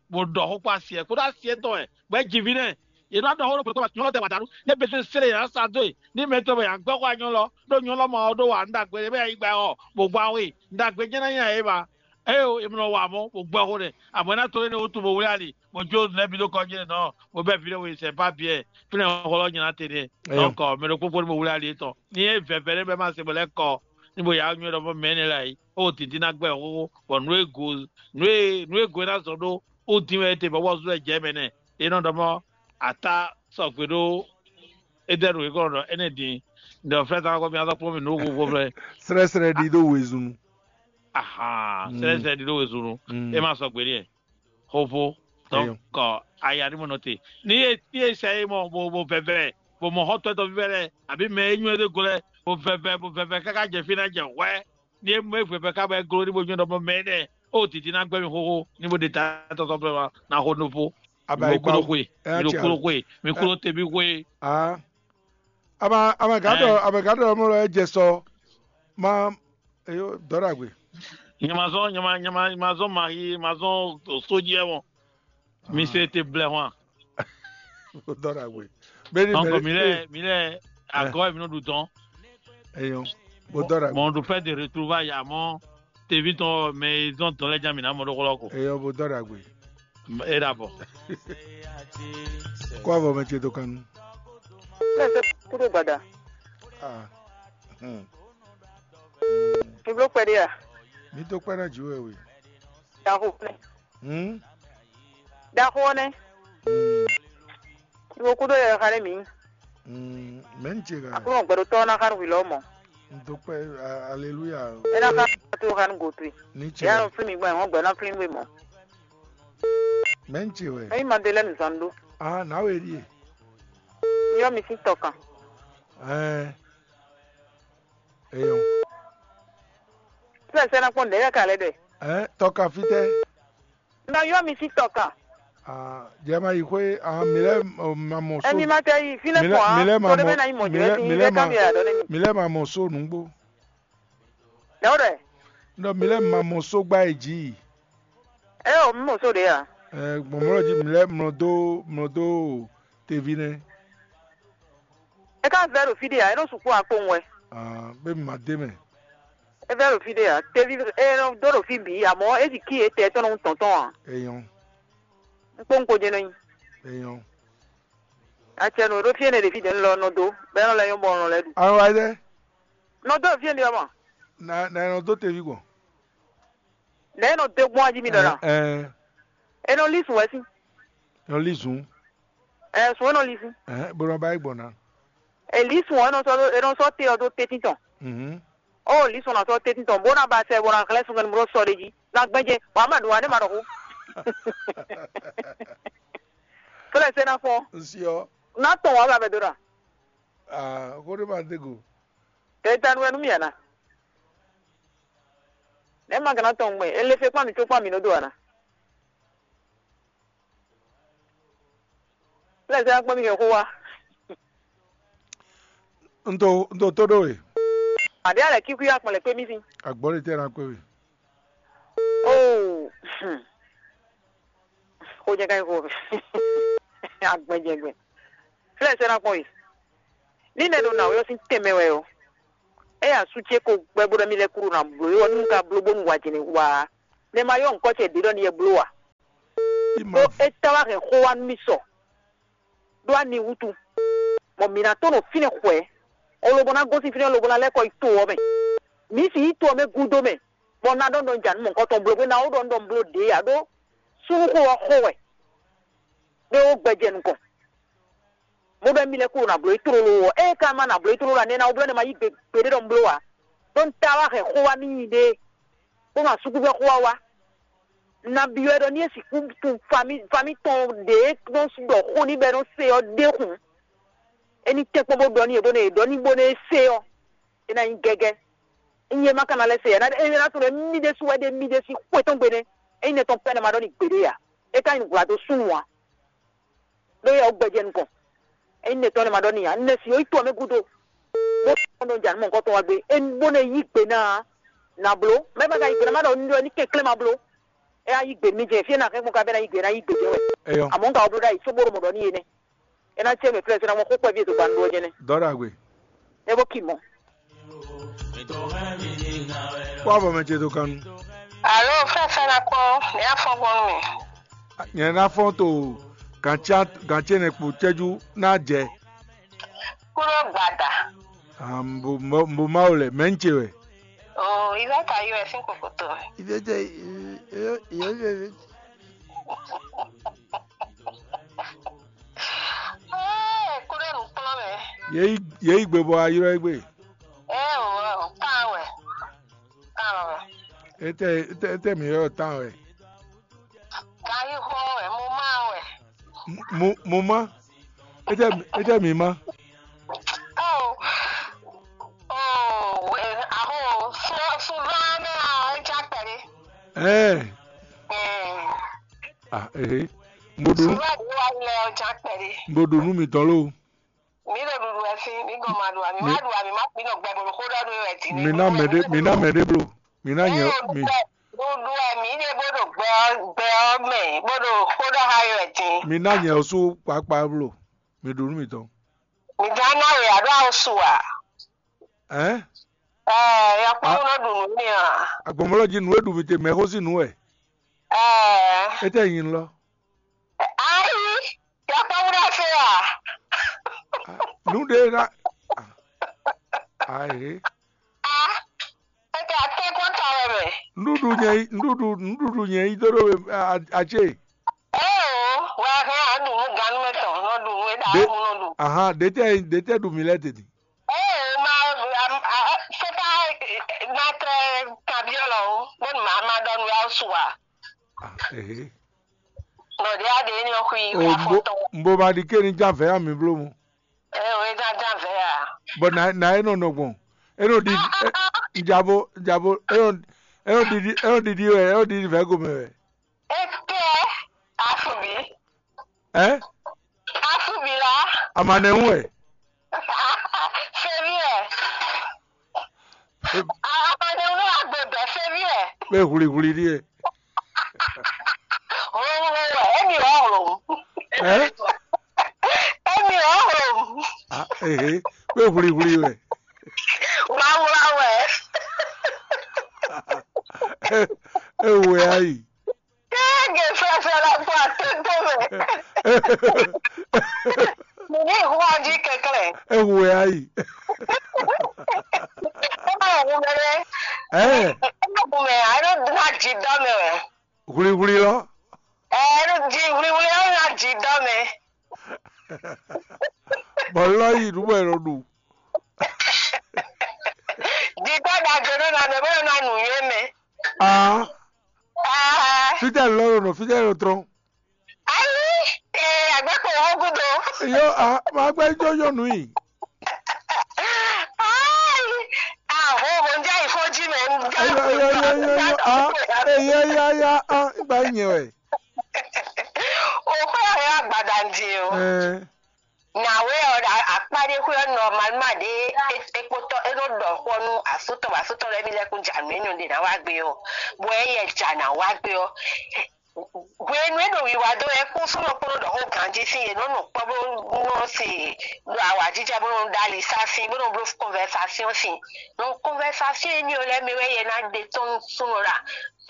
Bó ɖɔ xó kpó asi ɛ kó ɖó asi ɛ tɔn ɛ bɔ é ji ví nɛ. Yě nɔ ɖɔ xó ɖokpó ɖokpó nyɔlɔ tɛ wà dànù ne bɛ sɛlɛ yà sa do yi ní mɛ tɔn bɛ yà gbɛ xó anyɔlɔ ɖó nyɔlɔ ma ɔ ɖó wà ŋɖagbe bɛ yà yi gbɛ ɔ bó gbɔ awe ŋɖagbe jẹ́ náà yà yé ba. Eye o emlɔ wà mɔ bó gbɛ xó nɛ àmọ́ ná to éne wútu bó wlé ali bó jó lɛ́ bí ɖó kɔjí nɔ bó bɛ ví ɖé we sɛ pa biɛ fínɛ xɔlɔ nyina te nɛ. Donc mɛ ɖokpó kpó ní bó wlé ali étɔn ní é vɛvɛ ɖé bɛ má se bó lɛ kɔ ní bó yà nyɔ́ ɖɔ mɔ mɛ énɛ́ lɛ ayí ó tǐntí ná gbɛ xóxó bɔ nǔ e go nǔ e nǔ e go é ná zɔn ɖó ó dín wɛ é te bɔ wɔ zú wɛ jɛ mɛ nɛ é nɔ ɖɔ mɔ ata sɔgbe ɖó é dɛ ɖo é kɔ ɖɔ énɛ́ din ɖɔ flɛ́ ta kɔ mi azɔ kpɔ́n mi nǔ xóxó flɛ́. Srɛ́srɛ́ ɖi ɖó wezun. Ahan srɛ́srɛ́ ɖi ɖó wezun. É ma sɔgbe n'i. Xoxo. Donc aya ní mɔ nɔ te ní e ní e sɛ é mɔ bo bo vɛvɛ bo mɔ xɔtɔ́ tɔn vívɛ lɛ àbí mɛ e nyɔ́ é dó go lɛ bo vɛvɛ bo vɛvɛ káká jɛ fí ná jɛ hwɛ ní e mɔ é vɛvɛ ká bɔ é gló ní bo nyɔ́ ɖɔ mɔ mɛ énɛ́ ó dǐdí ná gbɛ́ mi xóxó ní bo ɖe ta tɔtɔ blɛ ma ná xó nú fó. Mi ɖo kúló xwe mi ɖo kúló xwe mi kúló te mi xwe. Aa. Ama ama gǎ ɖɔ ama gǎ ɖɔ mɔ lɔ é jɛ sɔ ma. Eyo dɔ́ ɖagbe. Nyɛ ma zɔn nyɛ ma nyɛ ma ma zɔn mahi ma zɔn sójí ɛ mɔ. Mi se te blɛ hwan. Dɔ́ ɖagbe. Beni donc mi lɛ mi lɛ agɔ mi nɔ ɖu dɔn. Eyo. Bo dɔ́ ɖagbe. Bon, on fait des retrouvailles amɔ tevi tɔn mɛ zɔn dɔn lɛ jan mi na mɔ ɖo xlɔ ko. Eyo bo dɔ́ ɖagbe. E ɖa bɔ. Kó avɔ mɛ ce dó kan. Lẹsẹ kúrò gbàdà. Ah. Hmm. Mi bló kpɛɖé a? Mi dó kpɛ́ ná jǐ wɛ we. Ɖaxo nɛ. Hmm. Ɖaxo nɛ. Hmm. Iwo kúdó yɛ xa nɛ mǐ. Hmm. Mɛ ń ce ká. Aklúnɔ gbɛɖotɔ́ ná xa nǔ hwi lɔ mɔ. N dó kpɛ́ a- aleluya. É ná xa tó xa nú gotwi. Ní ce. Yá nɔ flín mi gbɔn ẹ̀ wọ́n gbɛ ná flín we mɔ. Mɛ ń ce wɛ. Ẹ́yìn Madelɛ́nu zán ɖó. Ah, nǎ wɛ ɖíe. Yɔ mi sín tɔ kan. Ɛɛ. Eyɔn. Tí ẹ sẹ́ ná kpɔ́n nǔɖé yɛ ka lɛ́ ɖɛ. Ɛɛ, tɔ kan fítɛ́. Nɔ yɔ mi sín tɔ kan. Ah, jɛ ma yi xwé ah mi lɛ ma mɔ so. Ɛmi ma tɛ yi fínɛ́ kpɔn á. Mi lɛ ma mɔ mi lɛ ma mɔ so nǔgbó. Lɛwɖɛ. Nɔ mi lɛ ma mɔ so gbá yi jí. Ɛ o mi mɔ so ɖe ya. Ɛ gbɔn mɔ ji mi lɛ mlɔ dó mlɔ dó tevi nɛ. É ká vɛ́ ɖo fí ɖé ǎ, é nɔ sixú wá kpowun wɛ. Ah, bɛ mi ma dé mɛ. É vɛ́ ɖo fí ɖé ǎ, teví é nɔ dó ɖo fí bǐ, amɔ̌ é ɖi kí etɛ́ tɔn nɔ tɔn tɔn ǎ. Eyɔn. Un kpó un kpo jɛ́n nɔ nyi. Eyɔn. Acɛ nɔ ɖó fí énɛ́ ɖe fí ɖě un lɔ nɔ dó, bɔ é nɔ lɛ́ nyɔ́ bɔ un lɔ lɛ́ ɖu. Àwọn wa dɛ. Nɔ dó ɖo fí énɛ́ ɔ́ mɔ. Na na ɛ nɔ dó teví gbɔn. Nɛ̌ é nɔ dó gbɔn ají mi ɖɔ ná? Ɛɛ. É nɔ lí sùn wɛ sín. Nɔ lí zun. Ɛɛ sùn é nɔ lí sín. Ɛɛ bó nɔ ba yi gbɔn ná. È lǐ sùn ɔ́, é nɔ sɔ́ é nɔ sɔ́ te ɔ́ dó tɛ́ntin tɔn. Mhm. Ó lǐ sùn ɔ́ ná sɔ́ tɛ́ntin tɔn, bó ná ba sɛ bó ná hlɛ́n sunkɛnúmlɔ́ sɔ ɖé jí, ná gbɛ́ jɛ, wǎ mɛ ɖo wǎ nɛ́ ma ɖɔ xó. Fɛ́lɛ sɛ́ ná fɔ́n. N si ɔ́. Ná tɔn wǎ ba bɛ dó ɖa. Aa, xó ɖé ma dé go. Tɛ ta nu wɛ nú mì ǎ ná. Nɛ̌ ma ka ná tɔn gbɛn? È le fe kpán mǐ có kpán mǐ nɔ dó ǎ ná. Lɛ́ zɛ kpɔ́n mì kɛ xó wá. Un to un to tó ɖó we. Àbí alɛ kíkú yá kpɔn lɛ kpé mì sín. Agbɔ̌ ɖé tɛ́ ná kpé we. Oo. Xó jɛ ká nyí xó agbɛjɛgbɛ. Flɛ́ɛ sɛ́ ná kpɔ́n yi. Ní nɛ́ ɖo nǎwe ɔ́ sín tɛnmɛ wɛ ɔ́, é asú ce ko gbɛ́ bó ɖɔ mì lɛ́ kúɖo ná bló é ɔ́, nú un ka bló bónú wa jɛnɛ wa ǎ. Nɛ́ ma yɔ ŋkɔ́ ce ɖě ɖɔ n'i yɛ bló ǎ. Ɖó é táwá hɛn xó wá nú mì sɔ ɖó ani wútu, bɔ mǐ ná tó nɔ fínɛ́ xwɛ, o lobo ná gosín fínɛ́ lobo ná lɛ́ kɔ yi to ɔ́ mɛ. Mǐ sixú yi to ɔ́ mɛ gúdo mɛ, bɔ un ná ɖɔ ɖɔ un ja nǔ mɔ̌hunkɔtɔn bló bó ná wú ɖɔ un ɖɔ un bló ɖě ǎ ɖó súnnuxó ɔ́ xo wɛ, ɖé ó gbɛ jɛ nukɔn. Bó ɖɔ émí lɛ́ɛ kúrò nǎ bló yi tlóló ɔ́, ée ka ma nǎ bló yi tlóló ǎ, nɛ́ ná wú bló nɛ́ ma yí gbe gbeɖé ɖɔ un bló ǎ. Ɖó un ta wá hɛn xó wá n'i ɖée, bó ma súkúvɛ́ xó wá wá. Un ná byɔ́ ɛ ɖɔ ní é sixú tunwun famí famí tɔn ɖě nɔ ɖɔ xó n'i bɔ é nɔ se ɔ́ ɖé hǔn, é ní tɛ́nkpɔ́n bó ɖɔ n'i bónú è ɖɔ n'i bónú é se ɔ́, é ná nyí gɛ́gɛ́. Ényí é ma ka ná lɛ́ se ǎ, é ná tunwun ɖɔ émí ɖésú wɛ ɖe émí ɖésú xwé tɔn gbe nɛ́. Ényí nɛ́ tɔn pɛ́ nɛ́ ma ɖɔ n'i gbeɖé ǎ, é ka nyí nǔgbla dó súnnu ǎ. Ɖó yɛ ɔ́ gbɛjɛ nukɔn. Ényí nɛ́ tɔn nɛ́ ma ɖɔ n'i ǎ, nɛ́ si ó yi to ɔ́ mɛ gúdo, bó nɔ ja nǔ mɔ̌hunkɔtɔn wá gbé, é bó nɔ yí gbe ná ǎ. Nǎ bló, mɛ ma ka yí gbe ná ma ɖɔ un ɖɔ ní kɛnklɛ́n ma bló. É ná yí gbe nú mì jɛ fí é ná hɛn gbɔn ka bɛ́ ná yí gbe ná yí gbe jɛ wɛ. Eyɔ. Àmọ́ un ka wá bló ɖ'ayǐ sóbó ɖo mɔ ɖɔ n'i é nɛ́. É ná cɛ mɛ flɛ́ sɔ́ ná mɔ xó kpɛví e dó ba nú ɔ́ jɛ́nɛ́. Dɔ́ ɖagbe. É bó ki mɔ. Kpɔ́ avɔ mɛ ce dó kan nu. Alo, fɛfɛ na kpɔn, ní afɔ gbɔn nú mi. Nyɛ ná fɔ́n to gǎn ce nɛ kpo cɛ́jú ná jɛ. Kúrò gbada. Mbo Mawu lɛ, mɛ̌ ń ce wɛ? O, ìfẹ́ ta yọ ẹ̀ sín kòkòtò. Ìfẹ́ tẹ ìyọ́ ìyọ́ ìyọ́. Ee, kúrò nù kplɔ́n mɛ. Yě yi yě yi gbe bɔ a ylɔ́ ɛ gbe. Ee, o, o, kan wɛ. Kan wɛ. Étɛ étɛ étɛ mǐ ylɔ́ tán wɛ. Kan yi xɔ wɛ, mo ma wɛ. Mo mo ma. Étɛ étɛ mǐ ma. Oh, oh, eh, aho, so so vá mɛ a, é já kpɛɖé. Ɛɛ. Ɛɛ. Ah, ehe. Mo ɖo So vá ɖé wá lɛ, ó já kpɛɖé. Mo ɖo nú mǐtɔn lo. Mi ɖo ɖuɖu wɛ sín, mi gɔn ma ɖu ami, ma ɖu ami, ma kpi nɔ gbɛ bolo xó ɖɔ ɖo wɛ ti. Mi ná mɛ ɖé, mi ná mɛ ɖé blo. Mi ná nyɛ mi. Ɖuɖu wɛ mi ɖe bó ɖo gbɛ ɔ gbɛ ɔ mɛ, bó ɖo xó ɖɔ ha wɛ ti. Mi ná nyɛ ɔsú kpakpa blo. Mi ɖu nú mǐtɔn. Mi dán ná wɛ aɖó awo su a? Ɛn? Ɛɛ, yakpɔ́n nɔ ɖu nǔ mi a? Agbɔnmɔlɔ jí nǔ e ɖu mi te mɛ xó sín nǔ wɛ. Ɛɛ. Étɛ nyi lɔ. Ayi, yakpɔ́n ɖo fɛ a? Nǔ ɖe ná. Ayi. A, étɛ atɛ kɔn ta wɛ mɛ. Nuɖuɖu nyɛ yi nuɖuɖu nuɖuɖu nyɛ yi dó ɖó we acé. Ee o, wɛ a hɛn a ɖu nú gannú mɛ tɔn, nɔ ɖu nú e ɖa Ɖe- mu nɔ ɖu. Ahan, ɖetɛ ɖetɛ ɖu mi lɛ tete. Ee, ma, a, a, c'est pas, ma très tabiɔlɔ o, bó ma ma ɖɔ nú ya su a. Ah, ehe. Nɔ ɖe a ɖe ní ɔxui O wɛ afɔ mbo tɔn. Mbo ma ɖi ké ní já vɛ̌ ami bló mu. Ee, o e já já vɛ̌ a. Bɔ na na e nɔ nɔ gbɔn. E nɔ ɖi e- njabo njabo e nɔ e nɔ ɖiɖi e nɔ ɖiɖi wɛ e nɔ ɖiɖi vɛ̌ gomɛ wɛ. Ete afubi. Ɛ? Afubi la. Amanɛ ŋu wɛ. Fevi wɛ. Amanɛ ŋu agbe bɛ fevi wɛ. Bɛ hwlihwli ɖi yɛ. Hlo hlo wɛ, emi wɔ hlo. Ɛ? Emi wɔ hlo. Ah, ehe. Bɛ hwlihwli wɛ. Wawla wɛ. E wɛ ayi. Kéèké fɛfɛ la kpɔ atótó mɛ. Mǐ ní hu ají kɛnklɛ́n. Ehu wɛ ayi. Ɛ má hu mɛ ɖé. Ɛ. Ɛ má hu mɛ, a nɔ ná jí dɔ mɛ wɛ. Hwlihwli lɔ. Ɛ, nɔ jí hwlihwli ɔ ná jí dɔ mɛ. Bɔ lɔ yi nu bɔ e nɔ ɖu. Jí dɔ ɖagbe ɖo na mɛ bó nɔ ná nǔ yé mɛ. Aa. Aa. Fítɛ́ lɔ ɖo nɔ fítɛ́ ɖo trɔn. Ayi, ee, agbɛkpo wo gúdo. Yo, a ma gbɛ jɔ yɔnu yi. Ayi, aho ho njɛ ifo ji mɛ njɛ. Yo yo yo yo yo a, ee ya ya ya a, gba nyɛ wɛ. O kɔ ya ya gbada ndi o. Ɛɛ. Nyawe ɔ, akpa ɖe xwe ɔ normalement ɖe ekpotɔ e nɔ ɖɔ xɔ nu asutɔ asutɔ lɛ mi lɛ kun dza nu enɔ ɖe na wa gbe ɔ, bɔ e yɛ dza na wa gbe ɔ, hwe Enu e ɖo wiwa dó wɛ kún súnɔ kpó nɔ ɖɔ xó ganjí sín, yě nɔ nɔ kpɔ́ bó nɔ se ɖo awǎjijɛ bó nɔ ɖó ali sá sín bó nɔ bló conversation sín. Donc conversation énɛ́ ɔ́ lɛ́ɛ mɛ wɛ yɛ ná ɖe tɔ́n nú súnɔ ɖo a?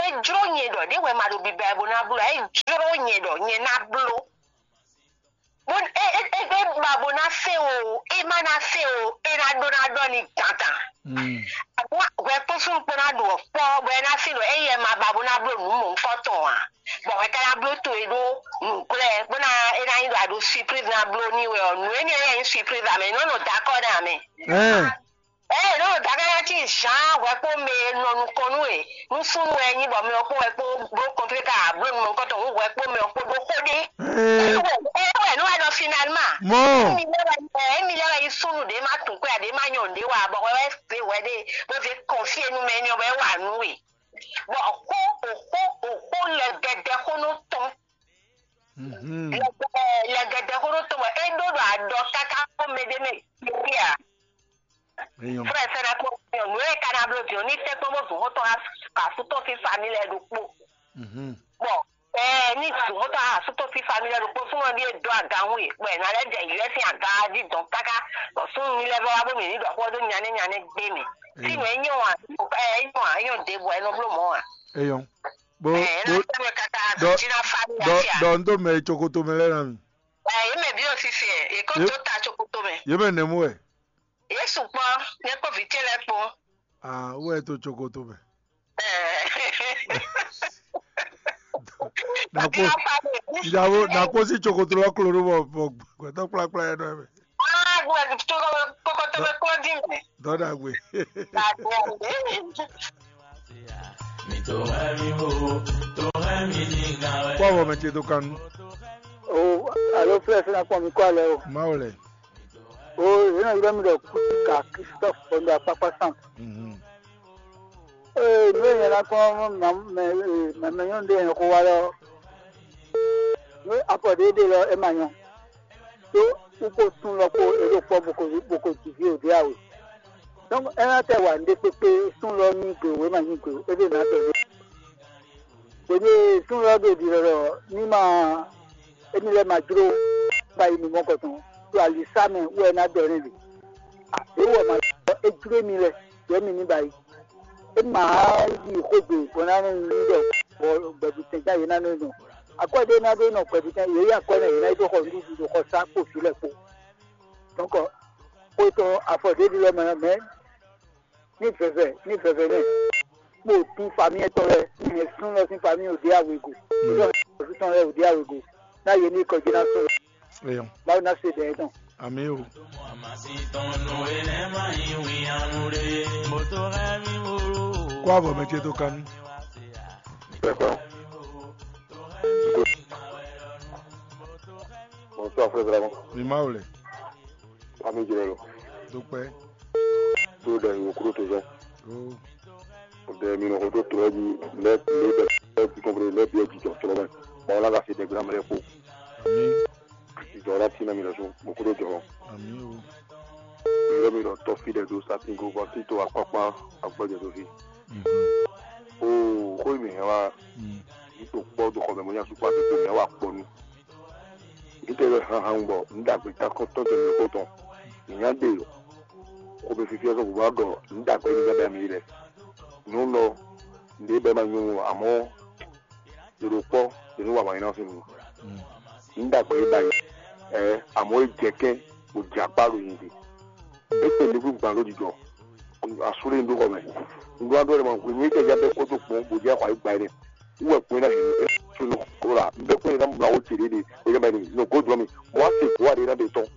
É jló nyɛ ɖɔ ɖě wɛ ma ɖo biba ɛ bó ná bló ǎ, é jló nyɛ ɖɔ nyɛ ná bló. Bó é é é é ba bó ná se o, é má ná se o, é ná ɖó ná ɖɔ ní dandan. Àbúrò hwɛ kpó súnnu kpó ná ɖu ɔ̀kpɔ́ bɔ é ná se ɖɔ éyɛ́ ma ba bó ná bló nǔ mɔ̌hunkɔtɔn ǎ. Bɔ hwɛ ka ná bló to e ɖó nǔglɛ́ bó ná é ná nyí ɖɔ a ɖo surprise ná bló ní wɛ ɔ́, nǔ énɛ́ lɛ́ɛ nyí surprise ǎ mɛ, é nɔ́ nɔ dó akɔ́ ná ǎ mɛ. Ɛɛ, é nɔ́ nɔ dó akɔ́ ná cí Jean hwɛ kpó mɛ e nɔ nukɔn nú we nú súnnu wɛ nyí bɔ mɛ ɔ́ kpó hwɛ kpó bló kɔnflí ka bló nú mɔ̌hunkɔtɔn hú hwɛ kpó mɛ ɔ́ kpó ɖó xó ɖé. Ɛɛ, É wɛ é wɛ nú wɛ ɖɔ finalement. Mɔ. Émi lɛ́ wɛ ɛ, émi lɛ́ wɛ nyí súnnu ɖě ma tunwun kwɛ́ ǎ, ɖě ma nyɔ nǔɖé wa bɔ hwɛ wɛ zé hwɛ ɖé bó zé kɔnfí e nú mɛ énɛ́ ɔ́ bɔ é wa nǔ we. Bɔ xó òxó òxó lɛgɛdɛ xó nɔ tɔn. Mhm. Lɛgɛdɛ lɛgɛdɛ xó nɔ tɔn bɔ é ɖó ɖo aɖɔ káká xó mɛ ɖé mɛ kpékpé ǎ. Eyɔn. Frère sɛ́ ná kpɔ́n nyɔ̌nu e ka ná bló din ɔ́, ní tɛ́nkpɔ́n bó zun xó tɔn asú tɔn sín famille lɛ́ɛ ɖokpó. Mhm. Bɔ ɛɛ ní zun xó tɔn asú tɔn sín famille lɛ́ɛ ɖokpó súnmọ́ ɖíe dó aga hún e, bɔ è nǎ lɛ́ jɛ yǔyɛ́ sín aga jí dɔn káká, bɔ súnnu ní lɛ́ɛ vɛ́ wá bó mì ní ɖɔ xó ɔ́ dó nyanɛ́ nyanɛ́ gbé mì. Fínú é nyɔ́ ǎ, é nyɔ́ ǎ, é nyɔ́ ɖěbǔ ɛ nɔ bló mɔ̌ ǎ. Eyɔn. Bo Ɛɛ, é ná bo tɛ́ mɛ káká dɔ jí ná famille dɔ ǎ fí ǎ. Dɔ ń dó mɛ cokoto mɛ lɛ́ɛ ná mi. Ɛɛ, yě mɛ bǐ ɔ́ sisi ɛ, yě kó Yě- dó ta cokoto mɛ. Yě mɛ nɛ̌ mú wɛ? Yě sukpɔ́, nyɛ kpó vǐ ce lɛ́ɛ kpó. Ah, wɛ to cokoto mɛ. Ɛɛ. Nakpo Bílá Fábíyì. Ìyàwó nakpo sí cokoto lɔ klo ɖó bɔ bɔ gbɛtɔ kplakpla yɛ nɔ ɛmɛ. Ah, gbɛ cokoto mɛ kplɔ́ dín mɛ. Dɔdagbe. Dàgbé. Kpɔ wɔ mɛ ce dó kanu. O, alo flɛ fina kpɔn mi kɔ alɛ o. Mawu lɛ. O, yena yɔrɔ mi ɖɔ kusi ka Christophe kpɔn ɖo akpakpa san. Mhm. Ee, nú è nyɛ ná kpɔ́n mɛ mɛ nyɔ́nu ɖé nyɛ xó wa lɔ, nú afɔ ɖé ɖe lɔ é ma nyɔ́. Ɖó wú kpó sun lɔ kpó é ɖo kpɔ́ bó ko bó ko ji vǐ wǒ ɖé awe. Donc é ná tɛ wa nǔɖé kpékpé sun lɔ nyí gbe wǒ é ma nyí gbe wǒ, é ɖo ná tɔ ɖé. Hwenu e sun lɔ ɖo ɖiɖɔ ɖɔ ní ma émi lɛ́ɛ ma jló ba yi nǔ mɔkɔtɔn, ɖo alisá mɛ wú wɛ é ná ɖɔ n'i ɖe. Ɖě wú wɛ ma ɖɔ é jló émi lɛ́ɛ, ɖɔ émi ní ba yi. É ma yi xwé gbe bɔ ná nɔ nyi ɖɔ bɔ gbɛ̌butɛn gán yě ná nɔ nɔ. Akwɛ́ ɖé ná ɖó nɔ gbɛ̌butɛn, yě yi akwɛ́ nɛ yě ná yi dó xɔ nǔɖuɖu ɖo xɔsá kpo vǐ lɛ́ɛ kpó. Donc xwe tɔn afɔ ɖě ɖi lɔ mɛ mɛ ní vɛvɛ ní vɛvɛ nɛ kpo tín famille tɔn lɛ́ɛ, ní hɛn sún lɔ sín famille ò ɖě awěgo, ní hɛn sún tɔn lɛ́ɛ ò ɖě awěgo, ná yě ní kɔjí ná sún. Eyɔn. Mawu ná se dɛ̌ tɔn. Àmì o. Kó àbọ̀ mɛ ce tó kánú. Bonsoir, frère Dragon. Mi Mawu lɛ. Ami jɛnɛ lo. Dúpẹ́. Tó ɖe wòkúrò tó zɔn. Ó. Ɖe mi nɔ xo tó tó ɛdi lɛ lɛ bɛ lɛ bi kɔnpere lɛ bi ɛdi jɔ tó lɛ. Bɔn la ka fi ɖe gbla mɛ lɛ kpo. Àmì. Jɔ la tina mi lɛ so wòkúrò jɔ. Àmì o. Yɔ mi lɔ tɔ fi ɖe do satin go bɔ tito akpakpa agbɛjɛ do fi. Mhm. O xo mi hɛn wa. Mm. Yi to kpɔ do xɔ mɛ mo nya sukpɔ ati to mi wa kpɔ nu. Ite ɖo hanhan bɔ un ɖo agbe takɔn tɔn tɔn mi xo tɔn. Mi nya de o. Xo mi fifi ɔsɔ bubu agɔ un ɖo agbe mi gɛdɛ mi lɛ. Nyɔnu nɔ nɖe bɛ ma nyɔnu amɔ ɖe ɖo kpɔ ɖe nu wa ma nyina fi mi. Un ɖo agbe ba yi. Ɛ amɔ e jɛ kɛn o jɛ akpa ɖo nyi di. Ete mi kú gbalo jijɔ. Asúlé ń dó xɔ mɛ. Ŋgɔ adó ɛlɛ ma hwenu e jɛ bɛ kpɔtɔ kpɔn bó jɛ xɔ ayigba ɛnɛ. Wú wɛ kpɔn na hin e tso nɔ kó la. Bɛ kpɔn na mla wo tse ɖe ɖe. O yɛ mɛ ni nɔ go dɔ mi. Mo wa se go aɖe na bɛ tɔn.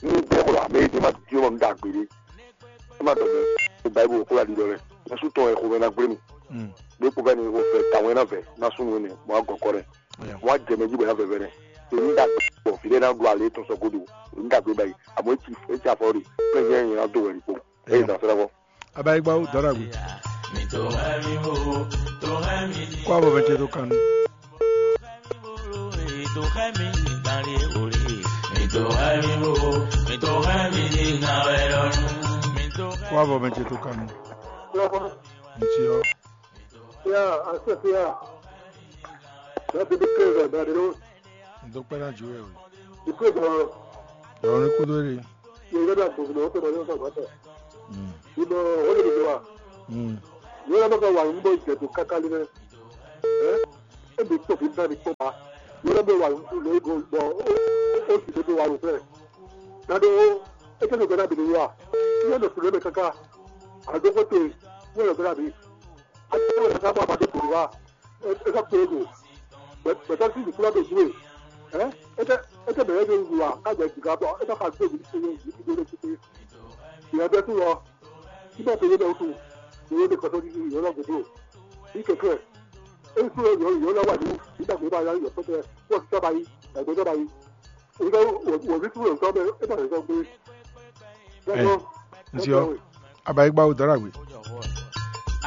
Ni bɛ ko la mɛ e ma di ma da gbe ɖe. E ma dɔ mɛ. Bible ko la di dɔ lɛ. Yesu tɔn e ko mɛ na gble mi. Be ko bɛ ni o fɛ ta wɛ na vɛ na sunu ne mo wa gɔ kɔ lɛ. Mo wa jɛ mɛ ji bɔ ya vɛ vɛ nɛ. Èmi da gbɔ fi ɖe na ɖu ale tɔn sɔ godo. Èmi da gbe bayi. Àmọ́ etsi etsi afɔ ɖe. Pé yẹn yẹn na do wɛ ɖi kpo. Eye da fɛ lɛ kɔ. Abayigba wo dɔrɔ agbe. Kó abɔ mɛ ce tó kanu. Kó abɔ mɛ ce tó kanu. Ntsi ɔ. Ya, asɛfia. Bɛ́ bí kéré bɛ́ bɛ́ ɖó. N dó kpɛ́ ná jǒ wɛ o. Ìkó ìgbà Yɔ̀rọ̀ ní kúdó rè. Yɛ yɛ bɛ gbogbo o kpɛ́ ní ọ̀sán gbàtà. Ìmọ̀ wọ́n lè dìde wa. Yɛ yɛ bɛ wà ń bọ̀ ìjẹ̀dù kákálí mẹ́. Ẹ́ ẹ́ bí tó fi bẹ́ẹ̀ ni tó ma. Yɛ yɛ bɛ wà ń bọ̀ lórí bọ̀ ó sì dé wà lófẹ́. Dado é tɛ́ nɔ gbɛ́ ná bǐ ní wa. Yɛ nɔ sùn lé mɛ káká. Àdókòtò yɛ nɔ gbɛ́ ná bǐ. Àti yɛ nɔ káká bọ̀ àbádé bǐ ní wa. É ká kpé go. Bɛtɛ sí ìdíkúlá tó dúró. Ɛ é tɛ é tɛ bɛ̀rẹ̀ ní wà kájà ìdíkà bọ̀ é ká fa gbé ìdíkúlé ìdíkúlé lé títí. Ìyá bẹ́ẹ̀ tún lọ. Síbẹ̀ tó yé bẹ́ẹ̀ tún. Ìyá bẹ́ẹ̀ kọ́tọ́ ní ìyá lọ́gùn tó. Ní kẹ̀kẹ́. É ń sọ̀rọ̀ ìyá ìyá lọ́wọ́ àdúgbò. Nígbà tó bá yá ìyá pẹ́tẹ́ wọ́n ti sábà yí. Ẹ̀gbọ́n sábà yí. Wòlíì tún lè tọ́ bẹ́ẹ̀ é bá lè sọ pé. Ẹ, n ṣe ọ. Abayigba wo dara gbe.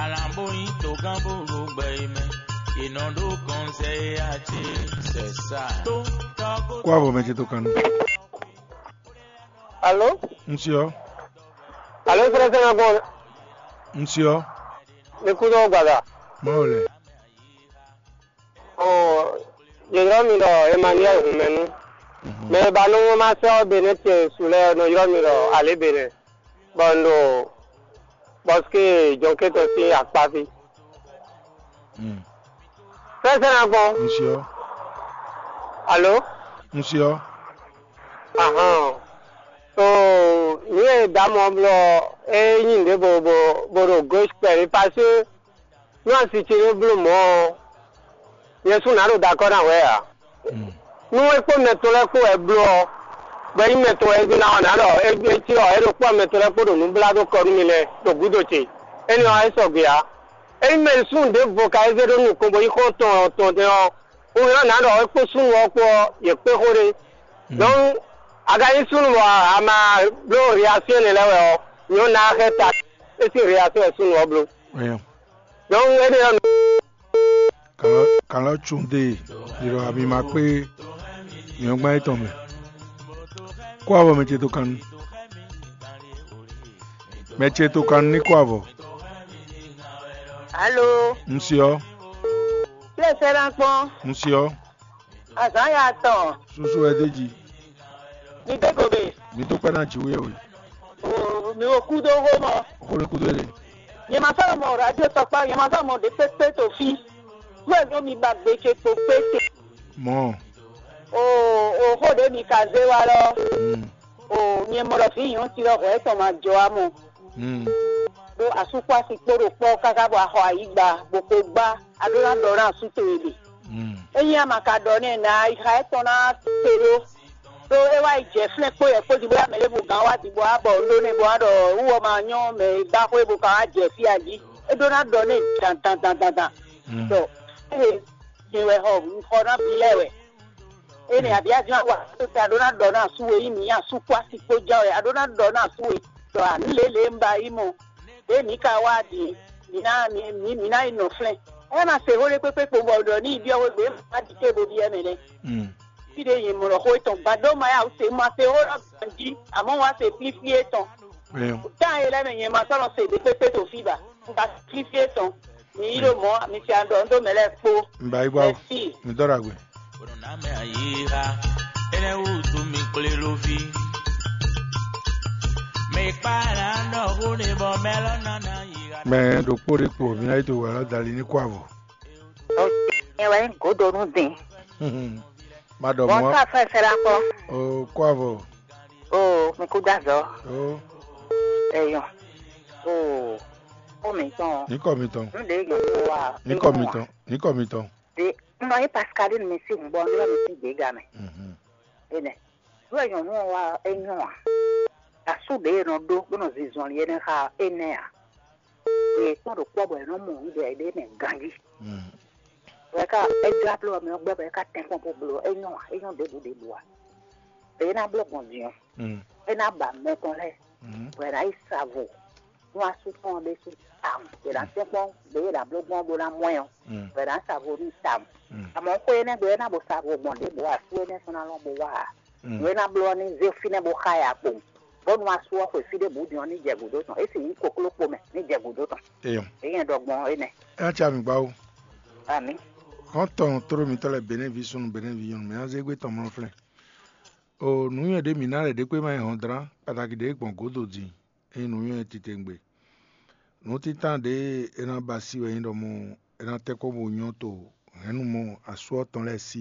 Alambo yin to gan bo ro gbɛ yi mɛ. Inɔ ɖo kɔnsɛ ya ce sɛ sa. Kó avɔ mɛ ce tó kan. Alo? N ṣe ọ. Alo, sɛlɛsɛlɛ gbɔn. N ṣe ọ. Ní kú tó gbàgbà. Má o lɛ. Ɔ, yě ylɔ́ mi ɖɔ Emmanuel Hunmɛnu. Mɛ e ba nú wɛn ma sɛ́ ɔ́ Benɛ́ ce su lɛ́ɛ nɔ ylɔ́ mi ɖɔ Alě Benɛ́, bɔ un ɖo Bɔsike Jɔnkɛ́tɔn sín akpá fí. Sɛ́sɛ́ ná gbɔn. Un se ɔ́. Alo? Un se ɔ́. Ahɔn. So, nǔ e dǎ mɔ blɔ é nyí nǔɖé bo bo bo ɖo gɔ́ kpɛɖé, parce que nú asi ce ɖé bló mɔ̌ ɔ́, nyɛ sú nǎ ɖo dakɔ́ ná hwɛ ǎ. Nú é kpó mɛ tɔn lɛ́ɛ kpó wɛ bló ɔ́, bɔ é nyí mɛ tɔn wɛ é ná ɔ́, nǎ ɖɔ é cí ɔ́, é ɖo kpɔ́ mɛ tɔn lɛ́ɛ kpó ɖo nǔ blá dó kɔ nú mi lɛ́ɛ ɖo gǔdo ce. Énɛ́ ɔ́, é sɔgbe ǎ. Ényí mɛ e súnnu ɖěvo ka é zé ɖó nukɔn bó nyí xɔ́ntɔn tɔn ɔ́, un ylɔ́ nǎ ɖɔ é kpó súnnu ɔ́ kpó ɔ́, yě kpé xó ɖé. Donc, a ka nyí súnnu bɔ a ma bló réaction énɛ́ lɛ́ɛ wɛ ɔ́, nyɔ̌ ná xɛ ta é sín réaction wɛ súnnu ɔ́ bló. Donc, énɛ́ ɔ́, Kan lɔ, kan lɔ tún dé ɖiɖɔ ami ma kpé nyɔ̌gbán yětɔn mɛ. Kó avɔ mɛ ce tó kan nu. Mɛ ce tó kan nu ní kó avɔ. Alo. Un se ɔ́. Kí ẹ sɛ́ ná kpɔ́n. Un se ɔ́. Azǎn ya tɔn. Susu wɛ d'é jí. Mi dé gomɛ. Mi tó kpɛ́ ná jǐ wíyɛ́wí. O mi wo kúdó xó mɔ. Xó ní kúdó lé. Nyɛ ma sɔ́ mɔ radio tɔkpá, nyɛ ma sɔ́ mɔ ɖě kpékpé to fí. Kúwɛ ɖó mi ba gbe ce kpo kpé te. Mɔ. O o xó ɖě mi ka zé wa lɔ. Mm. O nyɛ mɔ ɖɔ vǐ nyɔ̌nu ci lɔ hwɛ tɔn ma jɔ amɔ. Mm. Ɖó asúkpási kpó ɖo kpɔ́ káká bɔ axɔ ayǐgba bó ko gbá, a ɖó ná ɖɔ ná asú towe ɖe. Mm. Ényí a ma ka ɖɔ nɛ ná ayixa étɔn ná te ɖó. Ɖó é wá yi jɛ flɛ́n kpó yɛ kpó jí bó yá mɛ ɖěvo gán wá dǐ bó wá bɔ un ɖó nɛ bó wá ɖɔ wú ɔ ma nyɔ́ mɛ e gbá xwé bó ka wá jɛ fí a jí. É ɖó ná ɖɔ nɛ dandandandandan. Mm. Ɖɔ ee, din wɛ xɔ un xɔ ná bi lɛ́ɛ wɛ. Énɛ́ abǐ a jlá wa tó ta ɖó ná ɖɔ ná asú e nyí mǐ asú kpó asi kpó ján wɛ, a ɖó ná ɖɔ ná asú e ɖɔ ǎ nǔ lě lě un ba yi mɔ. Ɖě mǐ ka wá din, mǐ ná mǐ mǐ mǐ ná yi nɔ flɛ́n. É ma se xó ɖé kpékpé kpo bɔ ɖɔ ní yi byɔ́ xwé gbé ma ɖi té bo byɔ́ mɛ nɛ́. Mm. Fí ɖé nyɛ mɔ ɖɔ xó étɔn gba ɖó ma ya se ma se xó ɖɔ ganjí, àmọ́ wá se flíflí étɔn. Tan e lɛ́ mɛ nyɛ ma sɔ́ nɔ se ɖě kpékpé to fí ba. Un ka flíflí étɔn. Mi yí ɖo mɔ̌, mi fia ɖɔ un ɖó mɛ lɛ́ɛ kpó. Un ba yi gbá o. Mɛsi. Mi dɔ́ ɖo agbe. Ene wutu mi kple lovi. Me kpala nɔ hune bɔ mɛlɔ nana yi. Mɛ ɖokpó ɖe kpo mi ná yi to wǎ dali ní kó avɔ. Nyɛ wɛ nyí gǒdonu din. Ma ɖɔ mɔ̌. Bɔn ká fɛn sɛ la kpɔ. O kó avɔ. O mi kú dá zɔ. O. Eyɔn. O. Ó mi tɔn. Ní kɔ mi tɔn. Nú ɖe yɔn wa. Ní kɔ mi tɔn. Ní kɔ mi tɔn. De nɔ yí Pascaline mi sí hun bɔ nɔ mi sí gbéga mɛ. Mhm. Enɛ. Nú e nyɔnu ɔ́ wa é nyɔ́ a? Asú ɖě e nɔ ɖó bó nɔ zinzɔnlin énɛ́ xá énɛ́ ǎ. Yě kpɔ́n ɖo kpɔ́ bɔ è nɔ mɔ nǔɖé ɖé mɛ ganjí. Mm. Wɛ ká é jlá bló ɔ́ mɛ ɔ́ gbɛ́ bɔ é ká tɛ́nkpɔ́n bó bló ɔ́, é nyɔ́ ǎ, é nyɔ́ ɖěbǔ ɖěbǔ ǎ. Eye é ná bló gbɔn din ɔ́, é ná ba mɛ tɔn lɛ́ɛ, bɔ è nǎ yi sa vo nú asú tɔn ɔ́ ɖésú tawun. È nǎ tɛ́nkpɔ́n ɖě è nǎ bló gbɔn ɔ́ bó ná mɔ ɛ ɔ́, bɔ è nǎ sa vo n'i tawun. Amɔ̌ xwé énɛ́ gbe ɔ́, é ná bo sa vo gbɔn ɖěbǔ ǎ, asú énɛ́ sɔ́ ná lɔn bo wá ǎ. Nǔ e ná bló ɔ́ ní zé fínɛ́ bó xá ɛ akpowun, bónú asú ɔ́ xwe fí ɖěbǔ din ɔ́ ní jɛ gǔdo tɔn, é sì nyí kokló kpo mɛ ní jɛ gǔdo tɔn. Eyɔn. Èyí nyɛ ɖɔ gbɔn énɛ́. É ná tsi ami gbá ó. Amǐ. Xɔ́ntɔn tló mitɔ́ lɛ́ɛ Benɛ́vi súnnu Benɛ́vi nyɔ̌nu, mɛ ɔ́ zé gbé tɔn mlɔ́ flɛ́n. O nǔnywɛ́ ɖě mǐ ná lɛ́ ɖě kpé má nyí hɔndrán kpataki ɖě gbɔn gǒdo din, é nyí nǔnywɛ́ titewungbe. Nǔtítán ɖě é ná ba sí wɛ nyí ɖɔ mɔ é ná tɛ́ kpɔ́n bó nyɔ́ to hɛ̌nnumɔ asú ɔ́ tɔn lɛ́ɛ sí,